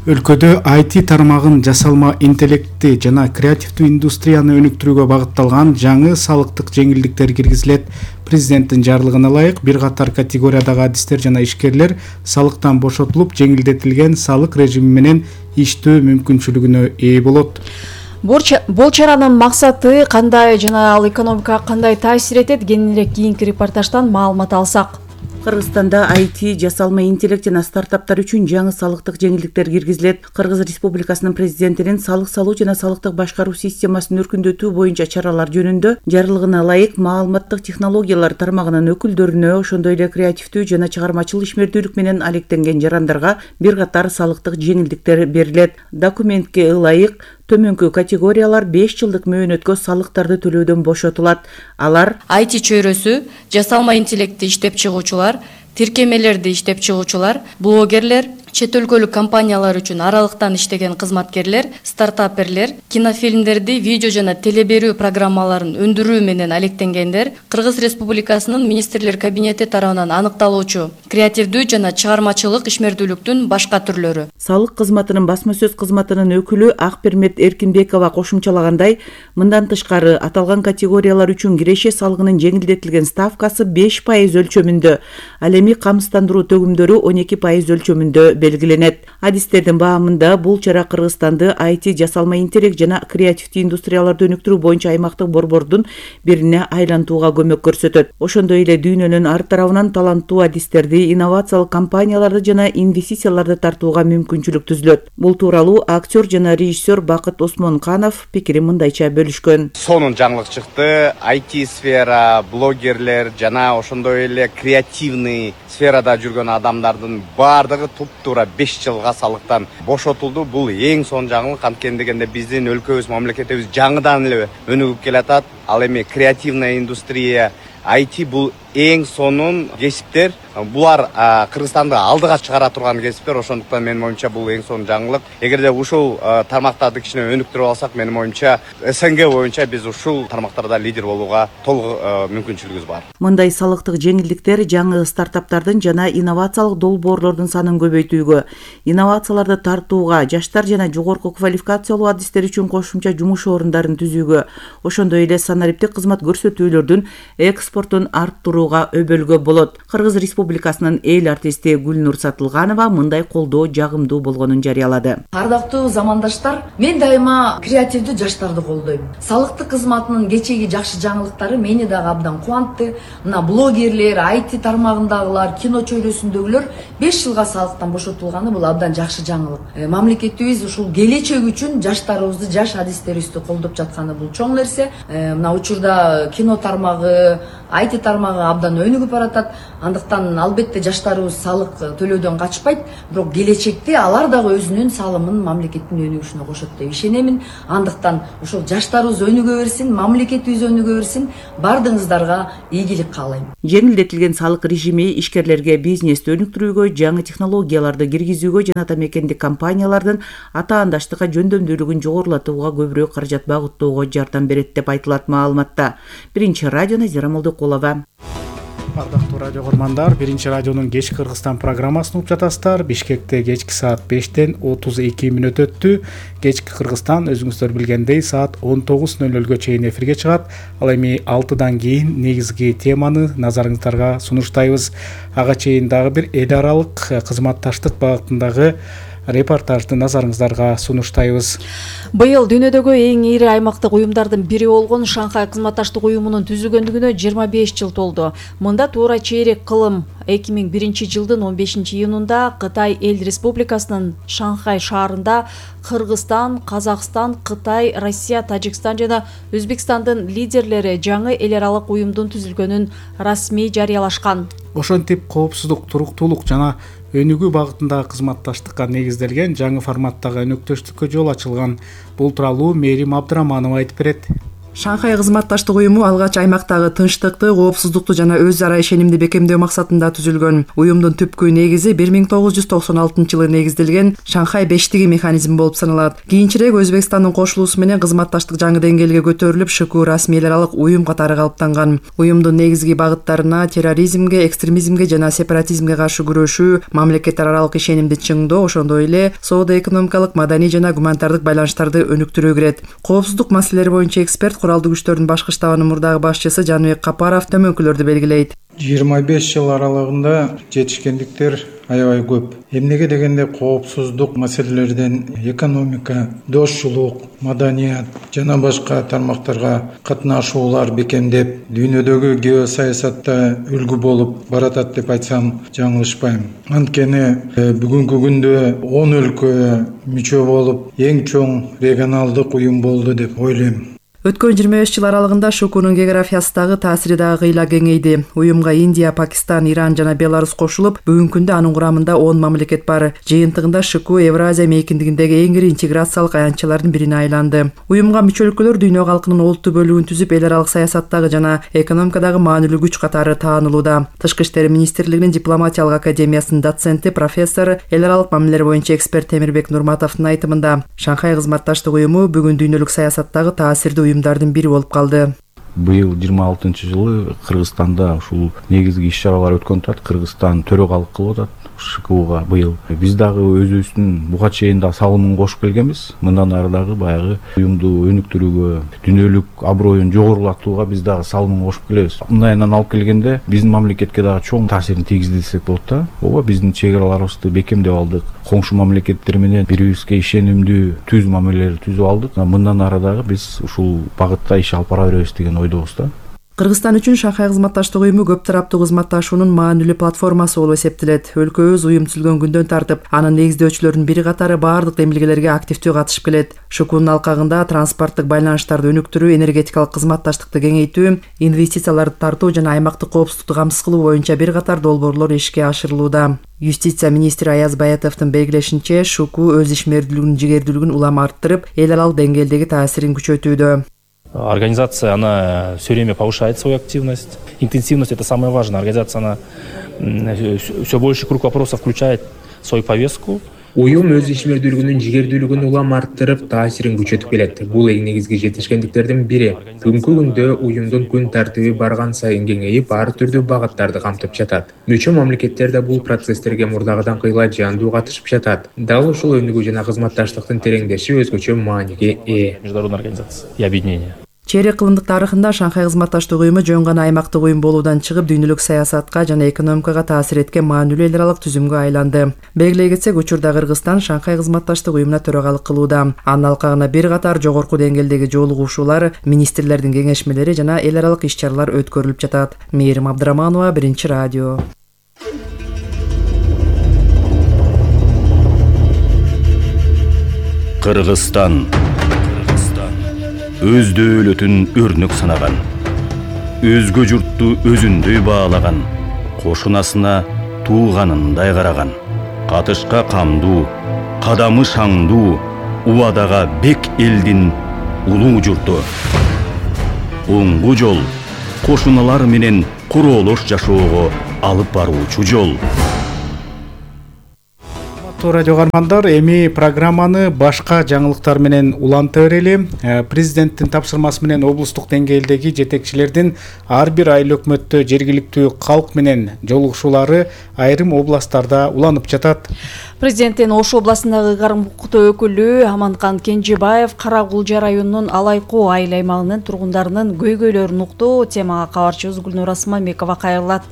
Өлкөдө ай ти тармагын жасалма интеллекти жана креативдүү индустрияны өнүктүрүүгө багытталган жаңы салыктык жеңилдиктер киргизилет. Президенттин жарлыгына ылайык бир катар категориядагы адистер жана ишкерлер салыктан бошотулуп, жеңилдетилген салык режими менен иштөө мүмкүнчүлүгүнө ээ болот. Бул чаранын максаты кандай жана ал экономикага кандай таасир этет? Кененирээк кийинки репортаждан маалымат алсак. Кыргызстанда ай ти, жасалма интеллект жана стартаптар үчүн жаңы салыктык жеңилдиктер киргизилет. Кыргыз Республикасынын президентинин салык салуу жана салыктык башкаруу системасын өркүндөтүү боюнча чаралар жөнүндө жарлыгына ылайык маалыматтык технологиялар тармагынын өкүлдөрүнө, ошондой эле креативдүү жана чыгармачыл ишмердүүлүк менен алектенген жарандарга бир катар салыктык жеңилдиктер берилет. Документке ылайык төмөнкү категориялар беш жылдык мөөнөткө салыктарды төлөөдөн бошотулат. Алар ай ти чөйрөсү, жасалма интеллектти иштеп чыгуучулар, тиркемелерди иштеп чыгуучулар, блогерлер, чет өлкөлүк компаниялар үчүн аралыктан иштеген кызматкерлер, стартаперлер, кинофильмдерди, видео жана телеберүү программаларын өндүрүү менен алектенгендер, Кыргыз Республикасынын министрлер кабинети тарабынан аныкталуучу креативдүү жана чыгармачылык ишмердүүлүктүн башка түрлөрү. Салык кызматынын басма сөз кызматынын өкүлү Акпермет Эркинбекова кошумчалагандай, мындан тышкары аталган категориялар үчүн киреше салыгынын жеңилдетилген ставкасы беш пайыз өлчөмүндө, ал эми камсыздандыруу төгүмдөрү он эки пайыз өлчөмүндө белгиленет. Адистердин баамында бул чара Кыргызстанды ай ти, жасалма интеллект жана креативдүү индустрияларды өнүктүрүү боюнча аймактык борбордун бирине айлантууга көмөк көрсөтөт. Ошондой эле дүйнөнүн ар тарабынан таланттуу адистерди, инновациялык компанияларды жана инвестицияларды тартууга мүмкүнчүлүк түзүлөт. Бул тууралуу актер жана режиссер Бакыт Осмонканов пикирин мындайча бөлүшкөн. Сонун жаңылык чыкты. ай ти сфера, блогерлер жана ошондой эле креативный сферада жүргөн адамдардын баардыгы туп-туура беш жылга салыктан бошотулду. Бул эң сонун жаңылык, анткени дегенде биздин өлкөбүз, мамлекетибиз жаңыдан эле өнүгүп келатат. Ал эми креативная индустрия, ай ти бул эң сонун кесиптер. Булар Кыргызстанды алдыга чыгара турган кесиптер, ошондуктан менин оюмча бул эң сонун жаңылык. Эгерде ушул тармактарды кичине өнүктүрүп алсак, менин оюмча эс эн гэ боюнча биз ушул тармактарда лидер болууга толук мүмкүнчүлүгүбүз бар. Мындай салыктык жеңилдиктер жаңы стартаптардын жана инновациялык долбоорлордун санын көбөйтүүгө, инновацияларды тартууга, жаштар жана жогорку квалификациялуу адистер үчүн кошумча жумуш орундарын түзүүгө, ошондой эле санариптик кызмат көрсөтүүлөрдүн экспортун арттырууга курууга өбөлгө болот. Кыргыз Республикасынын эл артисти Гүлнур Сатылганова мындай колдоо жагымдуу болгонун жарыялады. Ардактуу замандаштар, мен дайыма креативдүү жаштарды колдойм. Салыктык кызматынын кечеги жакшы жаңылыктары мени дагы абдан кубантты. Мына блогерлер, ай ти тармагындагылар, кино чөйрөсүндөгүлөр беш жылга салыктан бошотулганы бул абдан жакшы жаңылык. Э, мамлекетибиз ушул келечек үчүн жаштарыбызды, жаш адистерибизди колдоп жатканы бул чоң нерсе. Э, мына учурда кино тармагы, ай ти тармагы абдан өнүгүп баратат. Андыктан албетте жаштарыбыз салык төлөөдөн качпайт, бирок келечекте алар дагы өзүнүн салымын мамлекеттин өнүгүшүнө кошот деп ишенемин. Андыктан ошол жаштарыбыз өнүгө берсин, мамлекетибиз өнүгө берсин, бардыгыңыздарга ийгилик каалайм. Жеңилдетилген салык режими ишкерлерге бизнести өнүктүрүүгө, жаңы технологияларды киргизүүгө жана ата мекендик компаниялардын атаандаштыкка жөндөмдүүлүгүн жогорулатууга көбүрөөк каражат багыттоого жардам берет деп айтылат маалыматта. Биринчи радио Назира Молдокулова. Ардактуу радио көрмандар, биринчи радионун кечки Кыргызстан программасын угуп жатасыздар. Бишкекте кечки саат бештен отуз эки мүнөт өттү. Кечки Кыргызстан өзүңүздөр билгендей саат он тогуз нөл нөлгө чейин эфирге чыгат. Ал эми алтыдан кийин негизги теманы назарыңыздарга сунуштайбыз. Ага чейин дагы бир эл аралык кызматташтык багытындагы репортажды назарыңыздарга сунуштайбыз. Быйыл дүйнөдөгү эң ири аймактык уюмдардын бири болгон Шанхай кызматташтык уюмунун түзүлгөндүгүнө жыйырма беш жыл толду. Мында туура чейрек кылым эки миң биринчи жылдын он бешинчи июнунда Кытай Эл Республикасынын Шанхай шаарында Кыргызстан, Казакстан, Кытай, Россия, Тажикстан жана Өзбекстандын лидерлери жаңы эл аралык уюмдун түзүлгөнүн расмий жарыялашкан. Ошентип коопсуздук, туруктуулук жана өнүгүү багытындагы кызматташтыкка негизделген жаңы форматтагы өнөктөштүккө жол ачылган. Бул тууралуу Мээрим Абдыраманова айтып берет. Шанхай кызматташтык уюму алгач аймактагы тынчтыкты, коопсуздукту жана өз ара ишенимди бекемдөө максатында түзүлгөн. Уюмдун түпкү негизи бир миң тогуз жүз токсон алтынчы жылы негизделген Шанхай бештиги механизми болуп саналат. Кийинчерээк Өзбекстандын кошулуусу менен кызматташтык жаңы деңгээлге көтөрүлүп, ШКУ расмий эл аралык уюм катары калыптанган. Уюмдун негизги багыттарына терроризмге, экстремизмге жана сепаратизмге каршы күрөшүү, мамлекеттер аралык ишенимди чыңдоо, ошондой эле соода-экономикалык, маданий жана гуманитардык байланыштарды өнүктүрүү кирет. Коопсуздук маселелери боюнча эксперт куралдуу күчтөрдүн башкы штабынын мурдагы башчысы Жаныбек Капаров төмөнкүлөрдү белгилейт. жыйырма беш жыл аралыгында жетишкендиктер аябай көп. Эмнеге дегенде коопсуздук маселелерден экономика, дошчулук, маданият жана башка тармактарга катнашуулар бекемдеп, дүйнөдөгү геосаясатта үлгү болуп баратат деп айтсам жаңылышпайм. Анткени бүгүнкү күндө он өлкө мүчө болуп, эң чоң регионалдык уюм болду деп ойлойм. Өткөн жыйырма беш жыл аралыгында ШКУнун географиясындагы таасири дагы кыйла кеңейди. Уюмга Индия, Пакистан, Иран жана Беларусь кошулуп, бүгүнкү күндө анын курамында он мамлекет бар. Жыйынтыгында ШКУ Евразия мейкиндигиндеги эң ири интеграциялык аянтчалардын бирине айланды. Уюмга мүчө өлкөлөр дүйнө калкынын олуттуу бөлүгүн түзүп, эл аралык саясаттагы жана экономикадагы маанилүү күч катары таанылууда. Тышкы иштер министрлигинин дипломатиялык академиясынын доценти, профессор, эл аралык мамилелер боюнча эксперт Темирбек Нурматовдун айтымында, Шанхай кызматташтык уюму бүгүн дүйнөлүк саясаттагы таасирдүү уюмдардын бири болуп калды. Быйыл жыйырма алтынчы жылы Кыргызстанда ушул негизги иш-чаралар өткөн турат. Кыргызстан төрөгалык кылып атат ШКУга быйыл. Биз дагы өзүбүздүн буга чейин да салымын кошуп келгенбиз. Мындан ары дагы баягы уюмду өнүктүрүүгө, дүйнөлүк аброюн жогорулатууга биз дагы салымын кошуп келебиз. Мындайынан алып келгенде биздин мамлекетке дагы чоң таасирин тийгизди десек болот да. Ооба, биздин чек араларыбызды бекемдеп алдык. Коңшу мамлекеттер менен бири-бирибизге ишенимдүү түз мамилелер түзүп алдык. Мындан ары дагы биз ушул багытта иш алып бара беребиз деген ойдобуз да. Кыргызстан үчүн Шанхай кызматташтык уюму көп тараптуу кызматташуунун маанилүү платформасы болуп эсептелет. Өлкөбүз уюм түзүлгөн күндөн тартып, анын негиздөөчүлөрүнүн бири катары баардык демилгелерге активдүү катышып келет. ШКУнун алкагында транспорттук байланыштарды өнүктүрүү, энергетикалык кызматташтыкты кеңейтүү, инвестицияларды тартуу жана аймактык коопсуздукту камсыз кылуу боюнча бир катар долбоорлор ишке ашырылууда. Юстиция министри Аяз Баятовдун белгилешинче, ШКУ өз ишмердүүлүгүнүн жигердүүлүгүн улам арттырып, эл аралык деңгээлдеги таасирин күчөтүүдө. Организация, она все время повышает свою активность. Интенсивность – это самое важное. Организация, она все больше круг вопросов включает в свою повестку. Уюм өз ишмердүүлүгүнүн жигердүүлүгүн улам арттырып, таасирин күчөтүп келет. Бул эң негизги жетишкендиктердин бири. Бүгүнкү күндө уюмдун күн тартиби барган сайын кеңейип, ар түрдүү багыттарды камтып жатат. Мүчө мамлекеттер да бул процесстерге мурдагыдан кыйла жандуу катышып жатат. Дал ушул өнүгүү жана кызматташтыктын тереңдеши өзгөчө мааниге ээ. Международная организация и объединение. Чейрек кылымдык тарыхында Шанхай кызматташтык уюму жөн гана аймактык уюм болуудан чыгып дүйнөлүк саясатка жана экономикага таасир эткен маанилүү эл аралык түзүмгө айланды. Белгилей кетсек, учурда Кыргызстан Шанхай кызматташтык уюмуна төрагалык кылууда. Анын алкагына бир катар жогорку деңгээлдеги жолугушуулар, министрлердин кеңешмелери жана эл аралык иш-чаралар өткөрүлүп жатат. Мээрим Абдыраманова, Биринчи радио. Кыргызстан өз дөөлөтүн өрнөк санаган, өзгө журтту өзүндөй баалаган, кошунасына тууганындай караган, катышка камдуу, кадамы шаңдуу, убадага бек элдин улуу журту. Оңгу жол кошуналар менен короолош жашоого алып баруучу жол. Радио каармандар, эми программаны башка жаңылыктар менен уланта берели. Президенттин тапшырмасы менен облустук деңгээлдеги жетекчилердин ар бир айыл өкмөттө жергиликтүү калк менен жолугушуулары айрым областтарда уланып жатат. Президенттин Ош областындагы ыйгарым укуктуу өкүлү Аманкан Кенжебаев Кара Кулжа районунун Алайкуу айыл аймагынын тургундарынын көйгөйлөрүн укту. Темага кабарчыбыз Гүлнур Асманбекова кайрылат.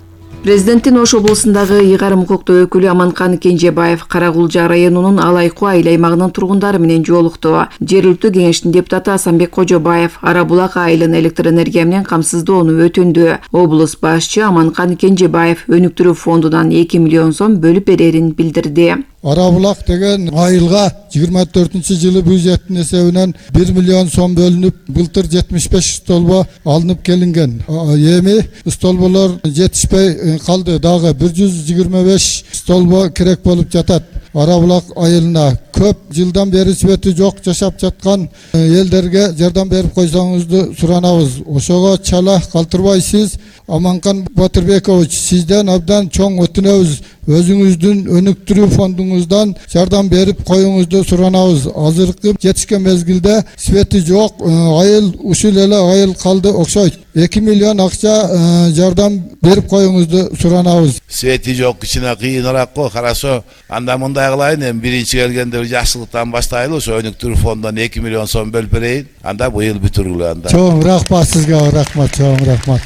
Президенттин Ош облусундагы ыйгарым укуктуу өкүлү Аманкан Кенжебаев Кара Кулжа районунун Алайкуу айыл аймагынын тургундары менен жолукту. Жергиликтүү кеңештин депутаты Асанбек Кожобаев Ара Булак айылын электр энергия менен камсыздоону өтүндү. Облус башчы Аманкан Кенжебаев өнүктүрүү фондунан эки миллион сом бөлүп берерин билдирди. Ара Булак деген айылга жыйырма төртүнчү жылы бюджеттин эсебинен бир миллион сом бөлүнүп, былтыр жетимиш беш столбо алынып келинген. Эми столболор жетишпей калды. Дагы бир жүз жыйырма беш столбо керек болуп жатат. Ара Булак айылына көп жылдан бери свети жок жашап жаткан элдерге жардам берип койсоңузду суранабыз. Ошого чала калтырбайсыз. Аманкан Батырбекович, сизден абдан чоң өтүнөбүз. Өзүңүздүн өнүктүрүү фондуңуздан жардам берип коюңузду суранабыз. Азыркы жетишкен мезгилде свети жок айыл ушул эле айыл калды окшойт. эки миллион акча жардам берип коюңузду суранабыз. Свети жок, кичине кыйыныраак го. Хорошо, анда мындай кылайын, эми биринчи келгенде жакшылыктан баштайлы, ошо өнүктүрүү фондунан эки миллион сом бөлүп берейин. Анда быйыл бүтүрүлө анда. Чоң рахмат сизге, рахмат, чоң рахмат.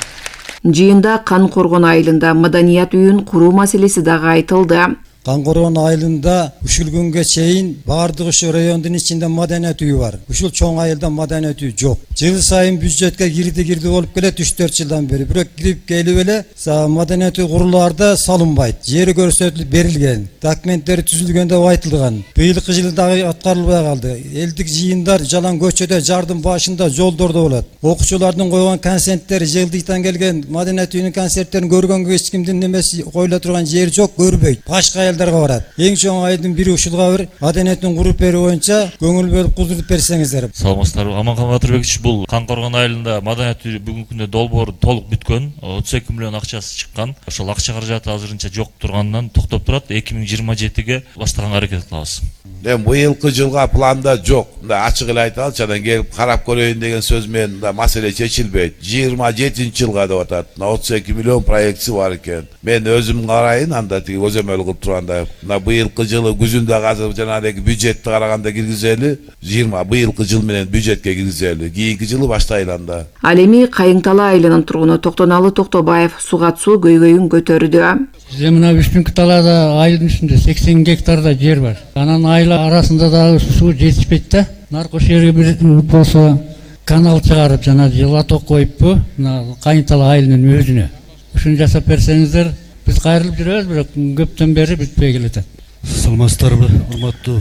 Жыйында Кан Коргон айылында маданият үйүн куруу маселеси дагы айтылды. Кан Коргон айылында ушул күнгө чейин баардык ушул райондун ичинде маданият үйү бар. Ушул чоң айылда маданият үйү жок. Жыл сайын бюджетке кирди кирди болуп келет үч төрт жылдан бери. Бирок кирип келип эле маданият үй курулаарда салынбайт. Жери көрсөтүлүп берилген. Документтери түзүлгөн деп айтылган. Быйылкы жылы дагы аткарылбай калды. Элдик жыйындар жалаң көчөдө, жардын башында, жолдордо болот. Окуучулардын койгон концерттери, жылдыктан келген маданият үйүнүн концерттерин көргөнгө эч кимдин немеси коюла турган жери жок, көрбөйт. Башка айылдарга барат. Эң чоң айылдын бири ушулга бир маданиятын куруп берүү боюнча көңүл бөлүп кудуртуп берсеңиздер. Саламатсыздарбы. Аманкан Батырбекович, бул Кан Коргон айылында маданият үйү бүгүнкү күндө долбоор толук бүткөн. отуз эки миллион акчасы чыккан. Ошол акча каражаты азырынча жок турганынан токтоп турат. эки миң жыйырма жетиге баштаганга аракет кылабыз. Эми быйылкы жылга планда жок. Мындай ачык эле айталычы, анан келип карап көрөйүн деген сөз менен да маселе чечилбейт. жыйырма жетинчи жылга деп атат. отуз эки миллион проектси бар экен. Мен өзүм карайын, анда тиги өзөмөл кылып турганда мына быйылкы жылы күзүндө азыр жанагы бюджетти караганда киргизели, жыйырма быйылкы жыл менен бюджетке киргизели. Кийинки жылы баштайлы анда. Ал эми Кайыңтала айылынын тургуну Токтоналы Токтобаев сугат суу көйгөйүн көтөрдү. Бизде мына Үшпүнкү талаада айылдын үстүндө сексен гектарда жер бар. Анан айыл арасында дагы суу жетишпейт да. Наркош жерге бир болсо канал чыгарып жана жылаток коюппу, мына Кайыңтала айылынын өзүнө. Ушуну жасап берсеңиздер, биз кайрылып жүрөбүз, бирок көптөн бери бүтпөй келатат. Саламатсыздарбы, урматтуу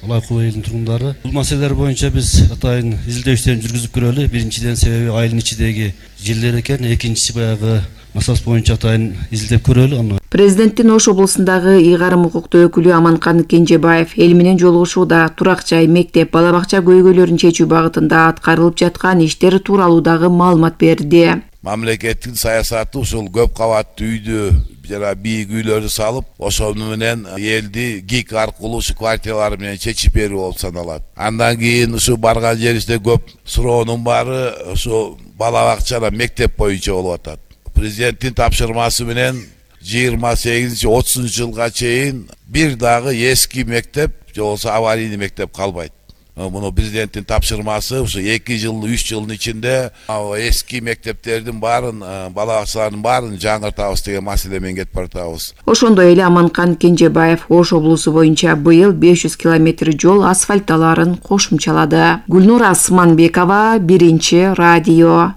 Алайкуу айылынын тургундары. Бул маселелер боюнча биз атайын изилдөөчтөрүн жүргүзүп көрөлү. Биринчиден себеби айылдын ичидеги жерлер экен, экинчиси баягы масалас боюнча атайын изилдеп көрөлү. Президенттин Ош облусундагы ыйгарым укуктуу өкүлү Аманкан Кенжебаев эл менен жолугушууда турак жай, мектеп, бала бакча көйгөйлөрүн чечүү багытында аткарылып жаткан иштер тууралуу дагы маалымат берди. Мамлекеттин саясаты ушул көп кабаттуу үйдү жана бийик үйлөрдү салып, ошол менен элди ГИК аркылуу ушу квартиралар менен чечип берүү болуп саналат. Андан кийин ушу барган жерибизде көп суроонун баары ушу бала бакча, мектеп боюнча болуп атат. Президенттин тапшырмасы менен жыйырма сегизинчи отузунчу жылга чейин бир дагы эски мектеп же болбосо аварийный мектеп калбайт. Муну президенттин тапшырмасы ушу эки жыл үч жылдын ичинде эски мектептердин баарын, бала бакчалардын баарын жаңыртабыз деген маселе менен кетип баратабыз. Ошондой эле Аманкан Кенжебаев Ош облусу боюнча быйыл беш жүз километр жол асфальтталарын кошумчалады. Гүлнур Асманбекова, Биринчи радио.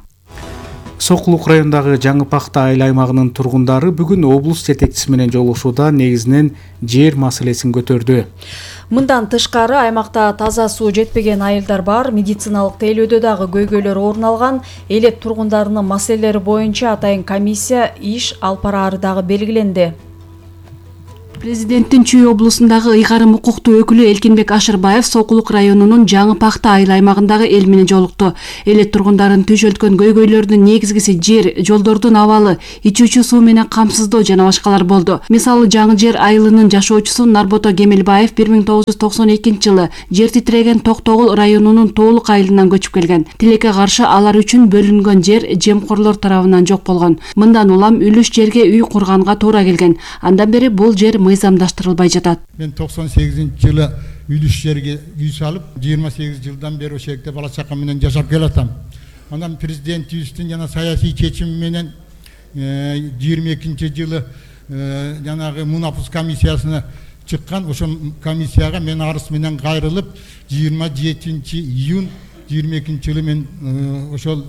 Сокулук районундагы Жаңы Пахта айыл аймагынын тургундары бүгүн облус жетекчиси менен жолугушууда негизинен жер маселесин көтөрдү. Мындан тышкары аймакта таза суу жетпеген айылдар бар, медициналык тейлөөдө дагы көйгөйлөр орун алган. Элек тургундарынын маселелери боюнча атайын комиссия иш алып бараары дагы белгиленди. Президенттин Чүй облусундагы ыйгарым укуктуу өкүлү Элкинбек Ашырбаев Сокулук районунун Жаңы Пахта айыл аймагындагы эл менен жолукту. Эле тургундарын түшөлткөн көйгөйлөрдүн негизгиси жер, жолдордун абалы, ичүүчү суу менен камсыздоо жана башкалар болду. Мисалы, Жаңы Жер айылынын жашоочусу Нарбото Кемелбаев бир миң тогуз жүз токсон экинчи жылы жер титиреген Токтогул районунун Тоолук айылынан көчүп келген. Тилекке каршы алар үчүн бөлүнгөн жер жемкорлор тарабынан жок болгон. Мындан улам үлүш жерге үй курганга туура келген. Андан бери бул жер мыйзамдаштырылбай жатат. Мен токсон сегизинчи жылы үлүш жерге үй салып, жыйырма сегиз жылдан бери ошол жерде бала чака менен жашап келатам. Андан президентибиздин жана саясий чечими менен жыйырма экинчи жылы жанагы мунапус комиссиясына чыккан. Ошол комиссияга мен арыз менен кайрылып, жыйырма жетинчи июнь жыйырма экинчи жылы мен ошол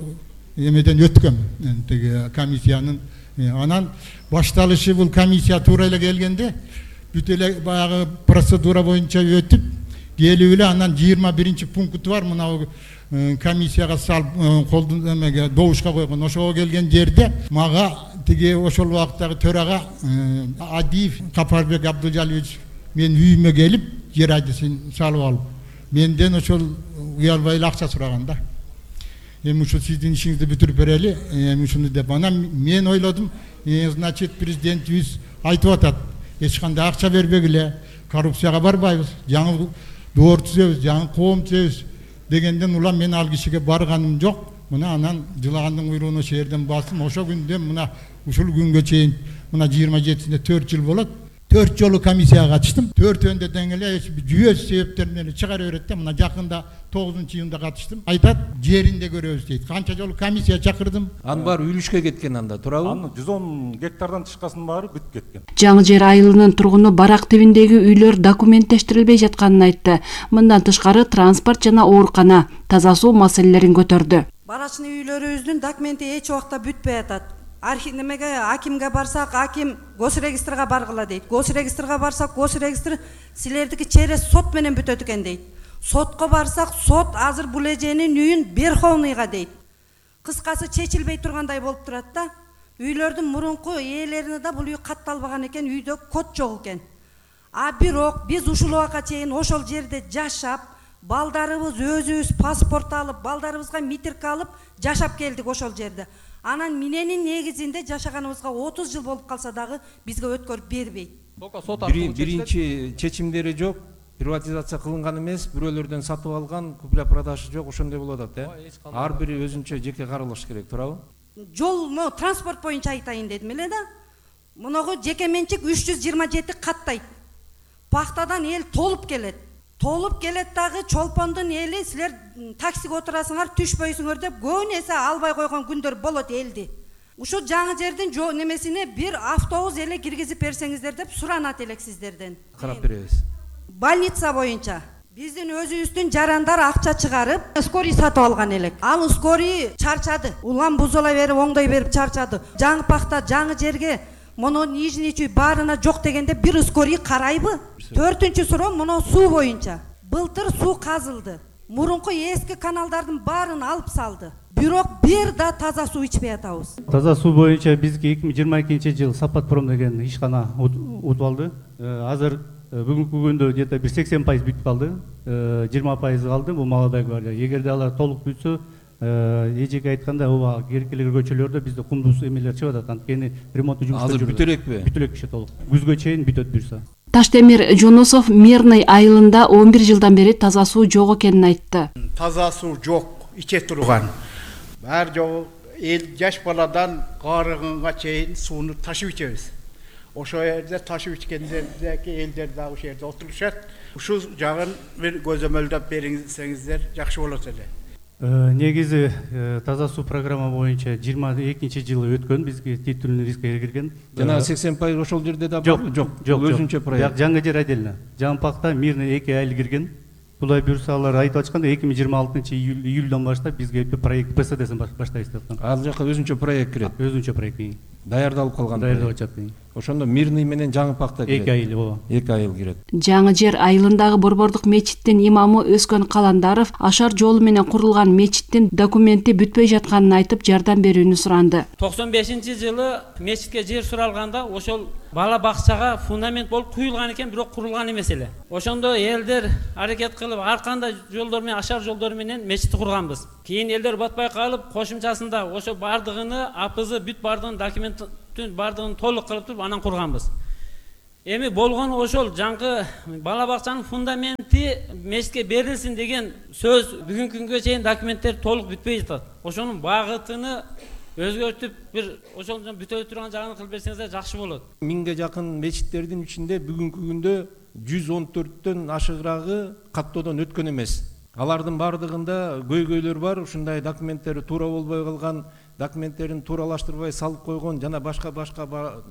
эмеден өткөм. Теги комиссиянын анан башталышы бул комиссия туура эле келгенде бүт эле баягы процедура боюнча өтүп келип эле анан жыйырма биринчи пункту бар, мына комиссияга салып колдун эмеге добушка койгон. Ошого келген жерде мага тиги ошол убакыттагы төрага Адиев Капарбек Абдыжалович мен үйүмө келип жер айдысын салып алып, менден ошол уялбай эле акча сураган да. Эми ушу сиздин ишиңизди бүтүрүп берели, эми ушуну деп анан мен ойлодум, значит президентибиз айтып атат, эч кандай акча бербегиле, коррупцияга барбайбыз, жаңы доор түзөбүз, жаңы коом түзөбүз дегенден улам мен ал кишиге барганым жок. Мына анан жылагандын куйругуна ошол жерден басым, ошо күндөн мына ушул күнгө чейин мына жыйырма жетисинде төрт жыл болот. төрт жолу комиссияга катыштым. төртөөндө тең эле жүйөсү себептер менен чыгара берет да. Мына жакында тогузунчу июнда катыштым. Айтат, жеринде көрөбүз дейт. Канча жолу комиссия чакырдым. Анын баары үлүшкө кеткен анда, туурабы? Анын жүз он гектардан тышкасынын баары бүтүп кеткен. Жаңы Жер айылынын тургуну барак тибиндеги үйлөр документтештирилбей жатканын айтты. Мындан тышкары транспорт жана оорукана, таза суу маселелерин көтөрдү. Барачный үйлөрүбүздүн документи эч убакта бүтпөй атат. Архив немеге акимге барсак, аким госрегистрга баргыла дейт. Госрегистрга барсак, госрегистр силердики через сот менен бүтөт экен дейт. Сотко барсак, сот азыр бул эженин үйүн Верховныйга дейт. Кыскасы чечилбей тургандай болуп турат да. Үйлөрдүн мурунку ээлерине да бул үй катталбаган экен, үйдө код жок экен. А бирок биз ушул убакка чейин ошол жерде жашап, балдарыбыз өзүбүз паспорт алып, балдарыбызга митирка алып жашап келдик ошол жерде. Анан мененин негизинде жашаганыбызга отуз жыл болуп калса дагы бизге өткөрүп бербейт. Биринчи чечимдери жок, приватизация кылынган эмес, бирөөлөрдөн сатып алган, купля продажа жок, ошондой болуп атат, э? Ар бири өзүнчө жеке каралыш керек, туурабы? Жол, мо транспорт боюнча айтайын дедим эле да. Муногу жеке менчик үч жүз жыйырма жети каттайт. Пахтадан эл толуп келет. Толуп келет дагы чолпондун эли силер таксиге отурасыңар, түшпөйсүңөр деп көбүн эсе албай койгон күндөр болот элди. Ушу Жаңы Жердин жол немесине бир автобус эле киргизип берсеңиздер деп суранат элек сиздерден. Карап беребиз. Больница боюнча биздин өзүбүздүн жарандар акча чыгарып, скорий сатып алган элек. Ал скорий чарчады. Улам бузула берип, оңдой берип чарчады. Жаңы Пахта, Жаңы Жерге мону нижний чүй баарына жок дегенде бир скорий карайбы? Төртүнчү суроо муну суу боюнча. Былтыр суу казылды. Мурунку эски каналдардын баарын алып салды. Бирок бир да таза суу ичпей атабыз. Таза суу боюнча бизге эки миң жыйырма экинчи жыл Сапатпром деген ишкана утуп алды. Азыр бүгүнкү күндө где-то бир сексен пайыз бүтүп калды. жыйырма пайыз калды бул Молодая гвардия. Эгерде алар толук бүтсө, эжеге айтканда ооба керекелер көчөлөрдө бизде кумдуз эмелер чыгып атат. Анткени ремонттуу жумуштар азыр бүтө элекпи? Бүтө элек иши толук. Күзгө чейин бүтөт буюрса. Таштемир Жунусов Мирный айылында он бир жылдан бери таза суу жок экенин айтты. Таза суу жок, иче турган. Баары жок, эл жаш баладан карыгынга чейин сууну ташып ичебиз. Ошол жерде ташып ичкендердеги элдер дагы ошол жерде отурушат. ушул жагын бир көзөмөлдөп берсеңиздер жакшы болот эле. Негизи таза суу программа боюнча жыйырма экинчи жылы өткөн, бизге титулный рискке кирген. Жана сексен пайыз ошол жерде да жок, бар? Жок, жок, өзүнчө проект. Жаңы жер отдельно. Жампакта мирный эки айыл кирген. Булай буюрса алар айтып атканда эки миң жыйырма алтынчы июлдан баштап бизге проект ПСДсин баштайбыз деп аткан. Ал жака өзүнчө проект кирет. Өзүнчө проект. Даярдалып калган. Даярдалып атат. Ошондо мирный менен Жаңыпакта кирет. эки айыл, ооба. эки айыл кирет. Жаңы жер айылындагы Борбордук мечиттин имамы Өскөн Каландаров ашар жолу менен курулган мечиттин документи бүтпөй жатканын айтып, жардам берүүнү суранды. токсон бешинчи жылы мечитке жер суралганда ошол бала бакчага фундамент болуп куюлган экен, бирок курулган эмес эле. Ошондо элдер аракет кылып, ар кандай жолдор менен, ашар жолдор менен мечитти курганбыз. Кийин элдер батпай калып, кошумчасында ошо бардыгыны апызы бүт бардыгын документтин бардыгын толук кылып туруп анан курганбыз. Эми болгон ошол жаңкы бала бакчанын фундаменти мечитке берилсин деген сөз бүгүнкү күнгө чейин документтер толук бүтпөй жатат. Ошонун багытыны өзгөртүп бир ошол бүтө турган жагын кылып берсеңиздер жакшы болот. Миңге жакын мечиттердин ичинде бүгүнкү күндө жүз он төрттөн ашыгырагы каттоодон өткөн эмес. Алардын бардыгында көйгөйлөр бар, ушундай документтери туура болбой калган, документтерин тууралаштырбай салып койгон жана башка башка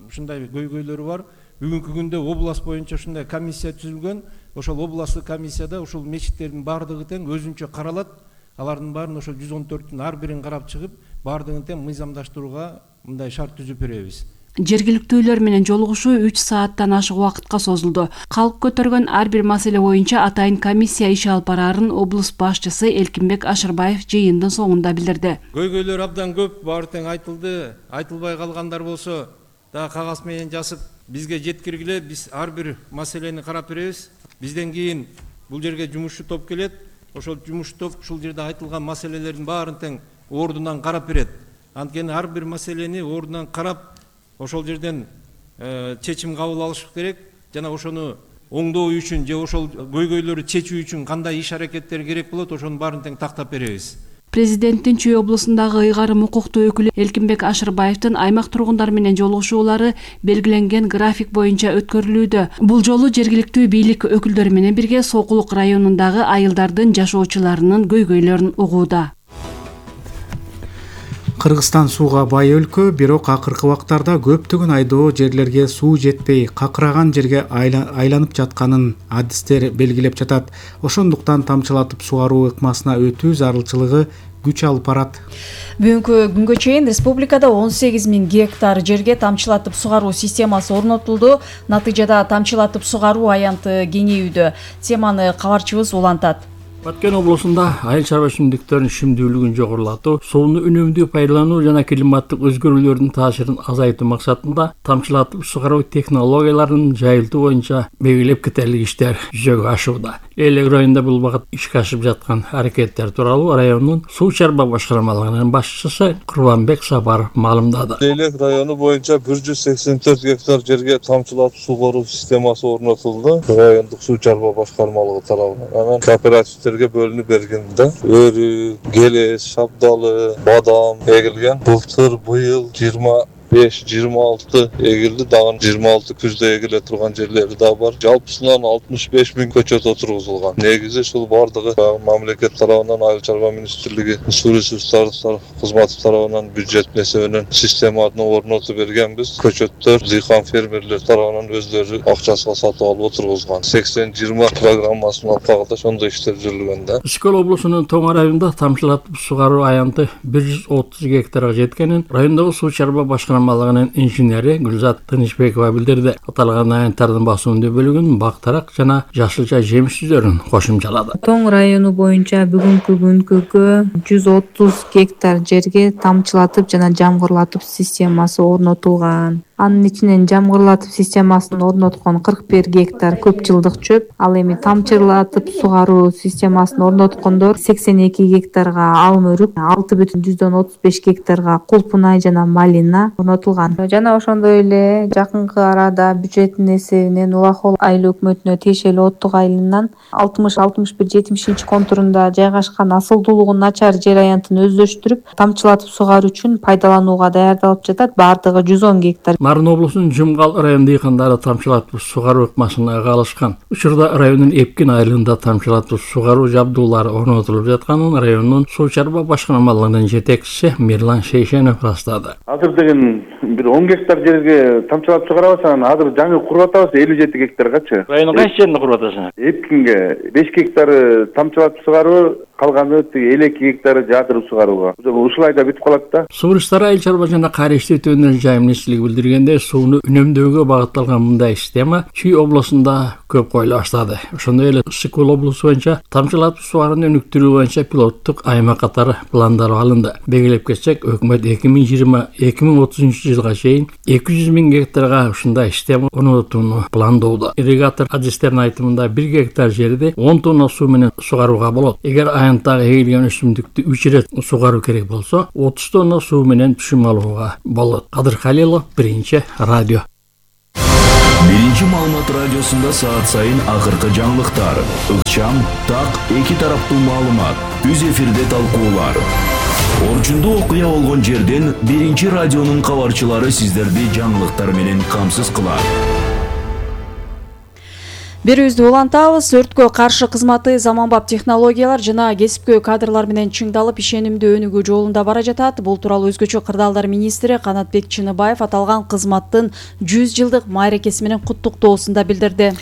ушундай көйгөйлөрү бар. Бүгүнкү күндө область боюнча ушундай комиссия түзүлгөн. Ошол областтык комиссияда ушул мечиттердин бардыгы тең өзүнчө каралат. Алардын баарын ошол жүз он төрттүн ар бирин карап чыгып, бардыгын тең мыйзамдаштырууга мындай шарт түзүп беребиз. Жергиликтүүлөр менен жолугушуу үч сааттан ашык убакытка созулду. Калк көтөргөн ар бир маселе боюнча атайын комиссия иш алып бараарын облус башчысы Элкинбек Ашырбаев жыйындын соңунда билдирди. Көйгөйлөр абдан көп, баары тең айтылды. Айтылбай калгандар болсо да кагаз менен жазып бизге жеткиргиле, биз ар бир маселени карап беребиз. Бизден кийин бул жерге жумушчу топ келет. Ошол жумушчу топ ушул жерде айтылган маселелердин баарын тең ордунан карап берет. Анткени ар бир маселени ордунан карап ошол жерден чечим кабыл алыш керек жана ошону оңдоо үчүн же ошол көйгөйлөрдү чечүү үчүн кандай иш аракеттер керек болот, ошонун баарын тең тактап беребиз. Президенттин Чүй облусундагы ыйгарым укуктуу өкүлү Элкинбек Ашырбаевдин аймак тургундар менен жолугушуулары белгиленген график боюнча өткөрүлүүдө. Бул жолу жергиликтүү бийлик өкүлдөрү менен бирге Сокулук районундагы айылдардын жашоочуларынын көйгөйлөрүн угууда. Кыргызстан сууга бай өлкө, бирок акыркы убактарда көптөгөн айдоо жерлерге суу жетпей, какыраган жерге айланып жатканын адистер белгилеп жатат. Ошондуктан тамчылатып сугаруу ыкмасына өтүү зарылчылыгы күч алып барат. Бүгүнкү күнгө чейин республикада он сегиз миң гектар жерге тамчылатып сугаруу системасы орнотулду. Натыйжада тамчылатып сугаруу аянты кеңейүүдө. Теманы кабарчыбыз улантат. Баткен облусунда айыл чарба өсүмдүктөрүнүн шимдүүлүгүн жогорулатуу, сууну үнөмдүү пайдалануу жана климаттык өзгөрүүлөрдүн таасирин азайтуу максатында тамчылатып сугаруу технологияларынын жайылтуу боюнча белгилеп кетерлик иштер жүзөгө ашууда. Элек районунда бул багыт ишке ашып жаткан аракеттер тууралуу райондун суу чарба башкармалыгынын башчысы Курбанбек Сапаров маалымдады. Элек району боюнча бир жүз сексен төрт гектар жерге тамчылатып сугаруу системасы орнотулду. Райондук суу чарба башкармалыгы тарабынан. Анан кооперативдер бөлүнүп бергенде өрү, келес, шабдалы, бадам эгилген. Былтыр быйыл жыйырма беш жыйырма алты эгилди, дагы жыйырма алты күздө эгиле турган жерлери да бар. Жалпысынан алтымыш беш миң көчөт отургузулган. Негизи ушул бардыгы мамлекет тарабынан, айыл чарба министрлиги, суу ресурстары кызматы тарабынан бюджет эсебинен системаны орнотуп бергенбиз. Көчөттөр дыйкан фермерлер тарабынан өздөрү акчасына сатып алып отургузган. сексен жыйырма программасынын алкагында ошондой иштер жүргүндө. Ишкөл облусунун Тоң районунда тамчылатып сугаруу аянты бир жүз отуз гектарга жеткенин райондогу суу чарба башкармалыгынын инженери Гүлзат Тынычбекова билдирди. Аталган аянттардын басымдуу бөлүгүн бактарак жана жашылча жемиш түзөрүн кошумчалады. Тоң району боюнча бүгүнкү күнгө жүз отуз гектар жерге тамчылатып жана жамгырлатып системасы орнотулган. Анын ичинен жамгырлатып системасын орноткон кырк бир гектар көп жылдык чөп, ал эми тамчылатып сугаруу системасын орноткондор сексен эки гектарга алым өрүк, алты бүтүн жүздөн отуз беш гектарга кулпунай жана малина орнотулган. Жана ошондой эле жакынкы арада бюджеттин эсебинен Улахол айыл өкмөтүнө тиешелүү Оттук айылынан алтымыш алтымыш бир жетимишинчи контурунда жайгашкан асылдуулугу начар жер аянтын өздөштүрүп, тамчылатып сугаруу үчүн пайдаланууга даярдалып жатат. Бардыгы жүз он гектар. Нарын облусунун Жумгал район дыйкандары тамчылатып сугаруу ыкмасына алышкан. Учурда райондун Эпкин айылында тамчылатып сугаруу жабдуулары орнотулуп жатканын райондун суу чарба башкармалыгынын жетекчиси Мирлан Шейшенов растады. Азыр деген бир он гектар жерге тамчылатып сугарабыз, анан азыр жаңы куруп атабыз элүү жети гектаргачы. Райондун кайсы жеринде куруп атасың? Эпкинге беш гектары тамчылатып сугаруу, калганы элүү эки гектары жаатырып сугарууга. Ушулай да бүтүп калат да. Суу ресурстары айыл чарба жана кайра иштетүү өнөр жайым министрлиги билдиргенде, сууну үнөмдөөгө багытталган мындай система Чүй облусунда көп коюла баштады. Ошондой эле Ысык-Көл облусу боюнча тамчылатып сууарууну өнүктүрүү боюнча пилоттук аймак катары пландар алынды. Белгилеп кетсек, өкмөт эки миң жыйырма эки миң отузунчу жылга чейин эки жүз миң гектарга ушундай система орнотууну пландоодо. Ирригатор адистердин айтымында бир гектар жерди он тонна суу менен сугарууга болот. Эгер аянттагы эгилген өсүмдүктү үч ирет сугаруу керек болсо, отуз тонна суу менен түшүм алууга болот. Кадыр Халилов, Биринчи радио. Биринчи маалымат радиосунда саат сайын акыркы жаңылыктар, ыкчам, так, эки тараптуу маалымат, үз эфирде талкуулар. Орчундуу окуя болгон жерден Биринчи радионун кабарчылары сиздерди жаңылыктар менен камсыз кылат. Берүүбүздү улантабыз. Өрткө каршы кызматы заманбап технологиялар жана кесипкөй кадрлар менен чыңдалып, ишенимдүү өнүгүү жолунда бара жатат. Бул тууралуу Өзгөчө кырдаалдар министри Канатбек Чыныбаев аталган кызматтын жүз жылдык майракеси менен куттуктоосунда билдирди.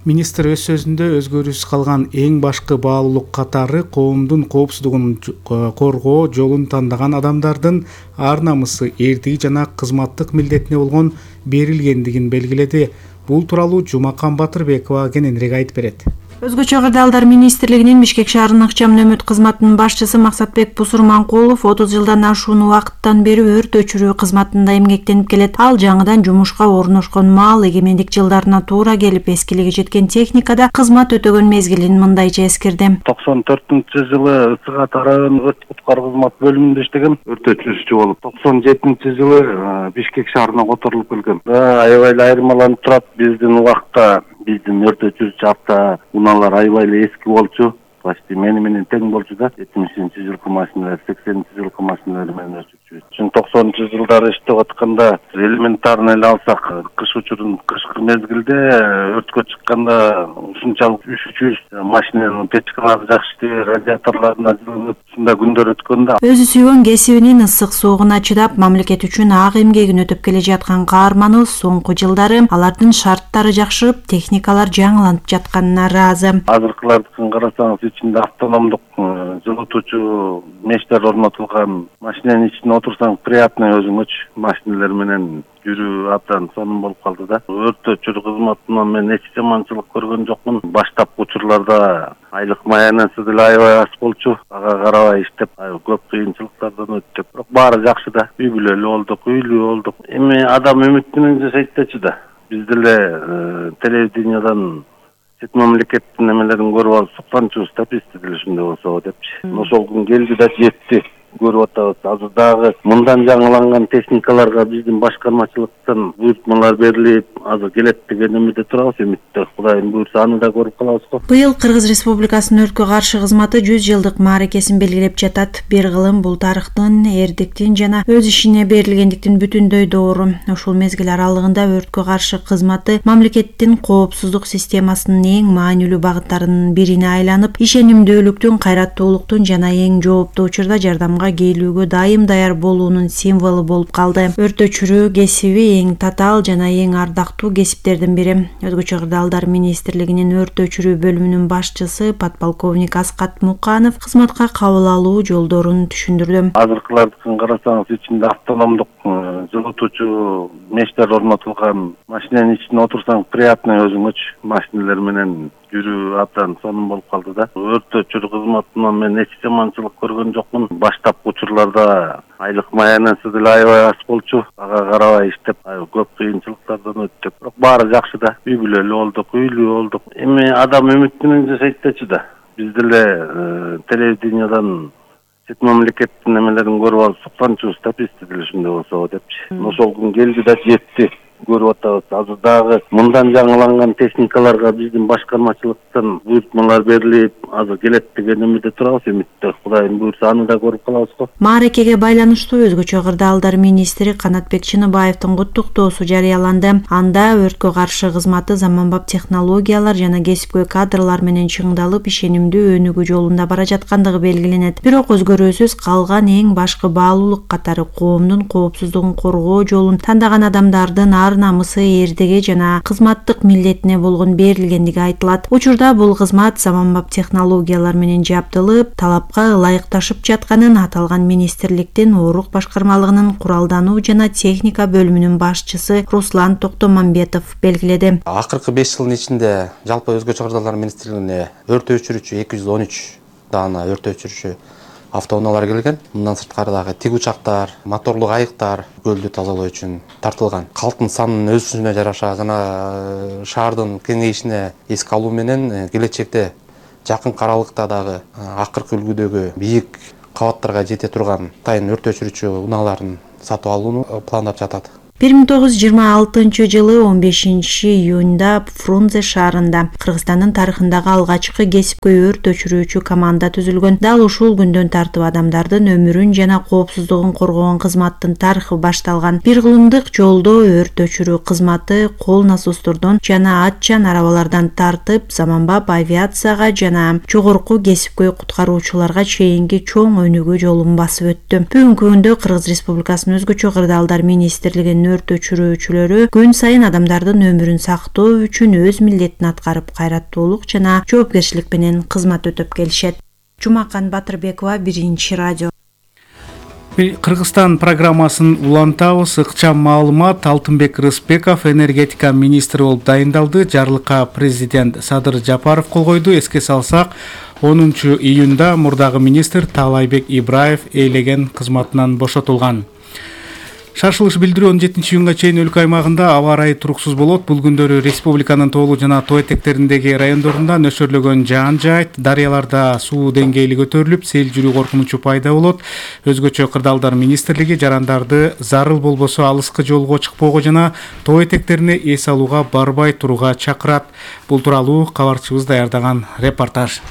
Министр өз сөзүндө өзгөрүүсүз калган эң башкы баалуулук катары коомдун коопсуздугун коргоо жолун тандаган адамдардын ар намысы, эрдиги жана кызматтык милдетине болгон берилгендигин белгиледи. Бул тууралуу Жумакан Батырбекова кененирээк айтып берет. Өзгөчө кырдаалдар министрлигинин Бишкек шаарынын ыкчам нөмөт кызматынын башчысы Максатбек Бусурманкулов отуз жылдан ашуун убакыттан бери өрт өчүрүү кызматында эмгектенип келет. Ал жаңыдан жумушка орношкон маал эгемендик жылдарына туура келип, эскилиги жеткен техникада кызмат өтөгөн мезгилин мындайча эскирди. токсон төртүнчү жылы Ысык Ата району өрт куткаруу кызмат бөлүмүндө иштеген, өрт өчүрүүчү болуп, токсон жетинчи жылы Бишкек шаарына которулуп келген. Аябай эле айырмаланып турат. Биздин убакта биздин өрт өчүрүүчү авто унаалар аябай эле эски болчу. Почти мени менен тең болчу да. жетимишинчи жылкы машиналар, сексенинчи жылкы машиналар менен өчүрчүбүз. Ушун токсонунчу жылдары иштеп атканда элементарный эле алсак, кыш учурун кышкы мезгилде өрткө чыкканда ушунчалык üşүчүбүз, машинанын печкалары жакшы иштебей, радиаторлоруна жылынып, ушундай күндөр өткөн да. Өзү сүйгөн кесибинин ысык суугуна чыдап, мамлекет үчүн ак эмгегин өтөп келе жаткан каарманыбыз соңку жылдары алардын шарттары жакшырып, техникалар жаңыланып жатканына ыраазы. Азыркылардыкын карасаңыз, ичинде автономдук жылытуучу мештер орнотулган. Машинанын ичине отурсаң приятный өзүңөчү. Машиналар менен жүрүү абдан сонун болуп калды да. Өрт өчүрүү кызматынан мен эч жаманчылык көргөн жокмун. Баштапкы учурларда айлык маянасы деле аябай аз болчу. Ага карабай иштеп, көп кыйынчылыктардан өттүк. Бирок баары жакшы да. Үй бүлөлүү болдук, үйлүү болдук. Эми адам үмүт менен жашайт дечи да. Биз деле телевидениядан чет мамлекеттин немелерин көрүп алып сукканчыбыз да, бизде деле ушундай болсо депчи. Ошол күн келди да жетти. Көрүп атабыз. Азыр дагы мындан жаңыланган техникаларга биздин башкармачылыктан буйртмалар берилип, азыр келет деген үмүттө турабыз. Үмүттө Кудайым буйрса аны да көрүп калабыз го. Быйыл Кыргыз Республикасынын өрткө каршы кызматы жүз жылдык мааракесин белгилеп жатат. Бир кылым бул тарыхтын, эрдиктин жана өз ишине берилгендиктин бүтүндөй доору. Ушул мезгил аралыгында өрткө каршы кызматы мамлекеттин коопсуздук системасынын эң маанилүү багыттарынын бирине айланып, ишенимдүүлүктүн, кайраттуулуктун жана эң жооптуу учурда жардамга келүүгө дайым даяр болуунун символу болуп калды. Өрт өчүрүү кесиби эң татаал жана эң ардактуу кесиптердин бири. Өзгөчө кырдаалдар министрлигинин өрт өчүрүү бөлүмүнүн башчысы подполковник Аскат Муканов кызматка кабыл алуу жолдорун түшүндүрдү. Азыркылардыкын карасаңыз, ичинде автономдук жылытуучу мештер орнотулган. Машинанын ичине отурсаң приятный өзүңөчү. Машиналар менен жүрүү абдан сонун болуп калды да. Өрт өчүрүү кызматынан мен эч жаманчылык көргөн жокмун. Баштапкы учурларда айлык маянасы деле аябай аз болчу. Ага карабай иштеп, көп кыйынчылыктардан өттүк. Бирок баары жакшы да. Үй бүлөлүү болдук, үйлүү болдук. Эми адам үмүт менен жашайт дечи да. Биз деле телевидениядан чет мамлекеттин немелерин көрүп алып сукканчыбыз да, бизде деле ушундай болсо депчи. Ошол күн келди да жетти. көрүп атабыз. Азыр дагы мындан жаңыланган техникаларга биздин башкармачылыктан буйртмалар берилип, азыр келет деген үмүттө турабыз. Үмүттө Кудайым буйрса аны да көрүп калабыз го. Мааракеге байланыштуу өзгөчө кырдаалдар министри Канатбек Чыныбаевдин куттуктоосу жарыяланды. Анда өрткө каршы кызматы заманбап технологиялар жана кесипкөй кадрлар менен чыңдалып, ишенимдүү өнүгүү жолунда бара жаткандыгы белгиленет. Бирок өзгөрүүсүз калган эң башкы баалуулук катары коомдун коопсуздугун коргоо жолун тандаган адамдардын ар намысы, эрдиги жана кызматтык милдетине болгон берилгендиги айтылат. Учурда бул кызмат заманбап технологиялар менен жабдылып, талапка ылайыкташып жатканын аталган министрликтин Оорук башкармалыгынын куралдануу жана техника бөлүмүнүн башчысы Руслан Токтомамбетов белгиледи. Акыркы беш жылдын ичинде жалпы өзгөчө кырдаалдар министрлигине өрт өчүрүүчү эки жүз он үч даана өрт өчүрүүчү автоунаалар келген. Мындан сырткары дагы тиг учактар, моторлук айыктар көлдү тазалоо үчүн тартылган. Калктын санынын өсүшүнө жараша жана шаардын кеңейишине эске алуу менен келечекте жакын аралыкта дагы акыркы үлгүдөгү бийик кабаттарга жете турган тайын өрт өчүрүүчү унааларын сатып алууну пландап жатат. бир миң тогуз жүз жыйырма алтынчы жылы он бешинчи июнда Фрунзе шаарында Кыргызстандын тарыхындагы алгачкы кесипкөй өрт өчүрүүчү команда түзүлгөн. Дал ушул күндөн тартып адамдардын өмүрүн жана коопсуздугун коргогон кызматтын тарыхы башталган. Бир кылымдык жолдо өрт өчүрүү кызматы кол насостордон жана атчан арабалардан тартып, заманбап авиацияга жана жогорку кесипкөй куткаруучуларга чейинки чоң өнүгүү жолун басып өттү. Бүгүнкү күндө Кыргыз Республикасынын өзгөчө кырдаалдар министрлигинин өрт өчүрүүчүлөрү күн сайын адамдардын өмүрүн сактоо үчүн өз милдетин аткарып, кайраттуулук жана жоопкерчилик менен кызмат өтөп келишет. Жумакан Батырбекова, Биринчи радио. Кыргызстан программасын улантабыз. Ыкчам маалымат. Алтынбек Рыспеков энергетика министри болуп дайындалды. Жарлыкка президент Садыр Жапаров кол койду. Эске салсак, онунчу июнда мурдагы министр Таалайбек Ибраев ээлеген кызматынан бошотулган. Шашылыш билдирүү он жетинчи июнга чейин өлкө аймагында аба ырайы туруксуз болот. Бул күндөрү республиканын тоолуу жана тоо этектериндеги райондорунда нөшөрлөгөн жаан жаайт, дарыяларда суу деңгээли көтөрүлүп, сел жүрүү коркунучу пайда болот. Өзгөчө кырдаалдар министрлиги жарандарды зарыл болбосо алыскы жолго чыкпоого жана тоо этектерине эс алууга барбай турууга чакырат. Бул тууралуу кабарчыбыз даярдаган репортаж.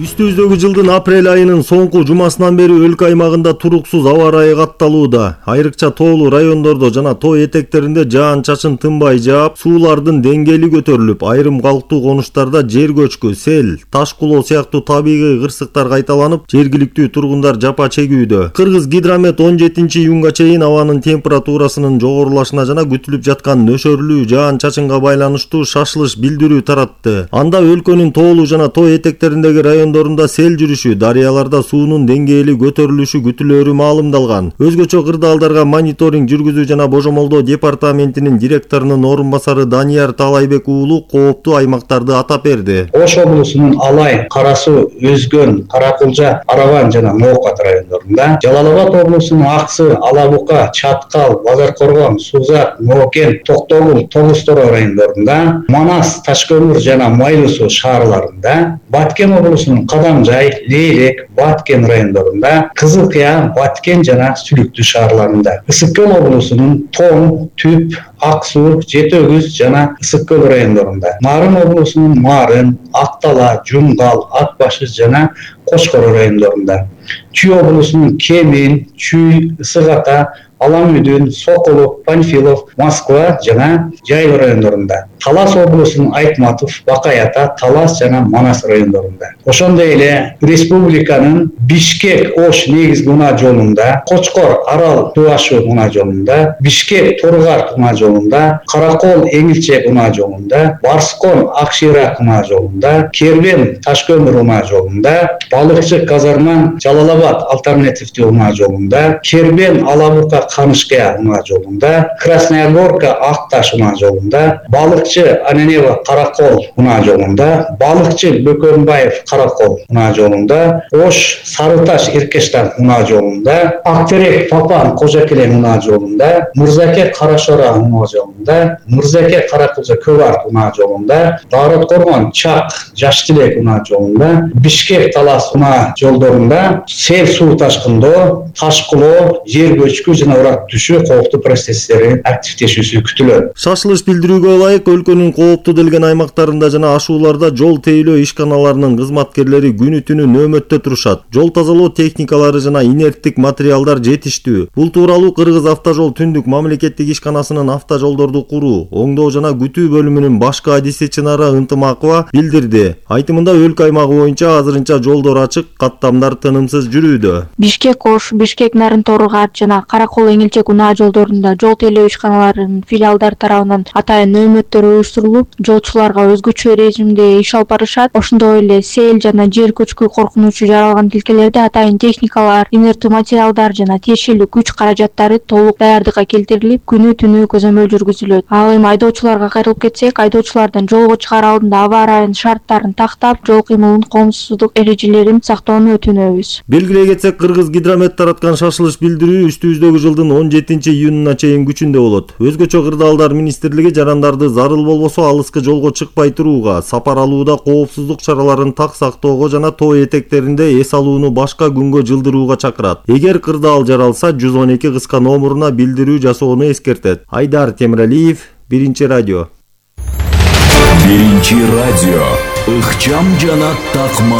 Үстүбүздөгү жылдын апрель айынын соңку жумасынан бери өлкө аймагында туруксуз аба ырайы катталууда. Айрыкча тоолуу райондордо жана тоо этектеринде жаан-чачын тынбай жаап, суулардын деңгээли көтөрүлүп, айрым калктуу конуштарда жер көчкү, сел, таш кулоо сыяктуу табигый кырсыктар кайталанып, жергиликтүү тургундар жапа чегүүдө. Кыргыз Гидромет он жетинчи июнга чейин абанын температурасынын жогорулашына жана күтүлүп жаткан нөшөрлүү жаан-чачынга байланыштуу шашылыш билдирүү таратты. Анда өлкөнүн тоолуу жана тоо этектериндеги райондорунда сел жүрүшү, дарыяларда суунун деңгээли көтөрүлүшү күтүлөрү маалымдалган. Өзгөчө кырдаалдарга мониторинг жүргүзүү жана божомолдоо департаментинин директорунун орун басары Данияр Таалайбек уулу кооптуу аймактарды атап берди. Ош облусунун Алай, Кара Суу, Өзгөн, Каракулжа, Араван жана Ноокат райондорунда, Жалал Абад облусунун Аксы, Алабука, Чаткал, Базар Коргон, Сузак, Ноокен, Токтогул, Тогуз-Торо райондорунда, Манас, Ташкөмүр жана Майлуу суу шаарларында, Баткен облусунун Кадамжай, Лейлек, Баткен райондорунда, Кызыл Кыя, Баткен жана Сүлүктүү шаарларында, Ысык көл облусунун Тоң, Түп, Ак Суу, Жети Өгүз жана Ысык көл райондорунда, Нарын облусунун Марын, Актала, Жумгал, Ат башы жана Кошкоро райондорунда, Чүй облусунун Кемин, Чүй, Ысык Ата, Аламүдүн, Сокулук, Панфилов, Москва жана Жайыл райондорунда, Талас облусунун Айтматов, Бакай Ата, Талас жана Манас райондорунда. Ошондой эле республиканын Бишкек Ош негизги унаа жолунда, Кочкор Арал суу ашуу унаа жолунда, Бишкек Торгар унаа жолунда, Каракол Эңилчек унаа жолунда, Барскон Акширак унаа жолунда, Кербен Ташкөмүр унаа жолунда, Балыкчы Казарман Жалал Абад альтернативдүү унаа жолунда, Кербен Алабука Канышкая унаа жолунда, Красная Горка Акташ унаа жолунда, Балыкчы Ананева Каракол унаа жолунда, Балыкчы Бөкөнбаев Каракол унаа жолунда, Ош Сарыташ Иркештан унаа жолунда, Актерек Папан Кожакелен унаа жолунда, Мурзаке Карашора унаа жолунда, Мурзаке Каракулжа Көвар унаа жолунда, Дарот Коргон Чак Жаштилек унаа жолунда, Бишкек Талас унаа жолдорунда сел суу ташкындоо, таш кулоо, жер көчкү жана урак түшүү, кооптуу процесстердин активдешүүсү күтүлөт. Шашылыш билдирүүгө ылайык өлкөнүн кооптуу делген аймактарында жана ашууларда жол тейлөө ишканаларынын кызматкерлери күнү түнү нөөмөттө турушат. Жол тазалоо техникалары жана инерттик материалдар жетиштүү. Бул тууралуу Кыргыз автожол түндүк мамлекеттик ишканасынын автожолдорду куруу, оңдоо жана күтүү бөлүмүнүн башкы адиси Чынара Ынтымакова билдирди. Айтымында өлкө аймагы боюнча азырынча жолдор ачык, каттамдар тынымсыз жүрүүдө. Бишкек Ош, Бишкек Нарын Торгат жана Каракол Эңилчек унаа жолдорунда жол тейлөө ишканаларынын филиалдар тарабынан атайын нөөмөттөр уюштурулуп, жолчуларга өзгөчө режимде иш алып барышат. Ошондой эле сел жана жер көчкү коркунучу жаралган тилкелерде атайын техникалар, инертті материалдар жана тиешелүү күч каражаттары толук даярдыкка келтирилип, күнү түнү көзөмөл жүргүзүлөт. Ал эми айдоочуларга кайрылып кетсек, айдоочулардан жолго чыгаар алдында аба ырайынын шарттарын тактап, жол кыймылынын коомсуздук эрежелерин сактоону өтүнөбүз. Белгилей кетсек, Кыргыз Гидромет тараткан шашылыш билдирүү үстүбүздөгү жылдын он жетинчи июнуна чейин күчүндө болот. Өзгөчө кырдаалдар министрлиги жарандарды зарыл болбосо алыскы жолго чыкпай турууга, сапар алууда коопсуздук чараларын так сактоого жана тоо этектеринде эс алууну башка күнгө жылдырууга чакырат. Эгер кырдаал жаралса, жүз он эки кыска номуруна билдирүү жасоону эскертет. Айдар Темиралиев, Биринчи радио. Биринчи радио. Ыкчам жана такма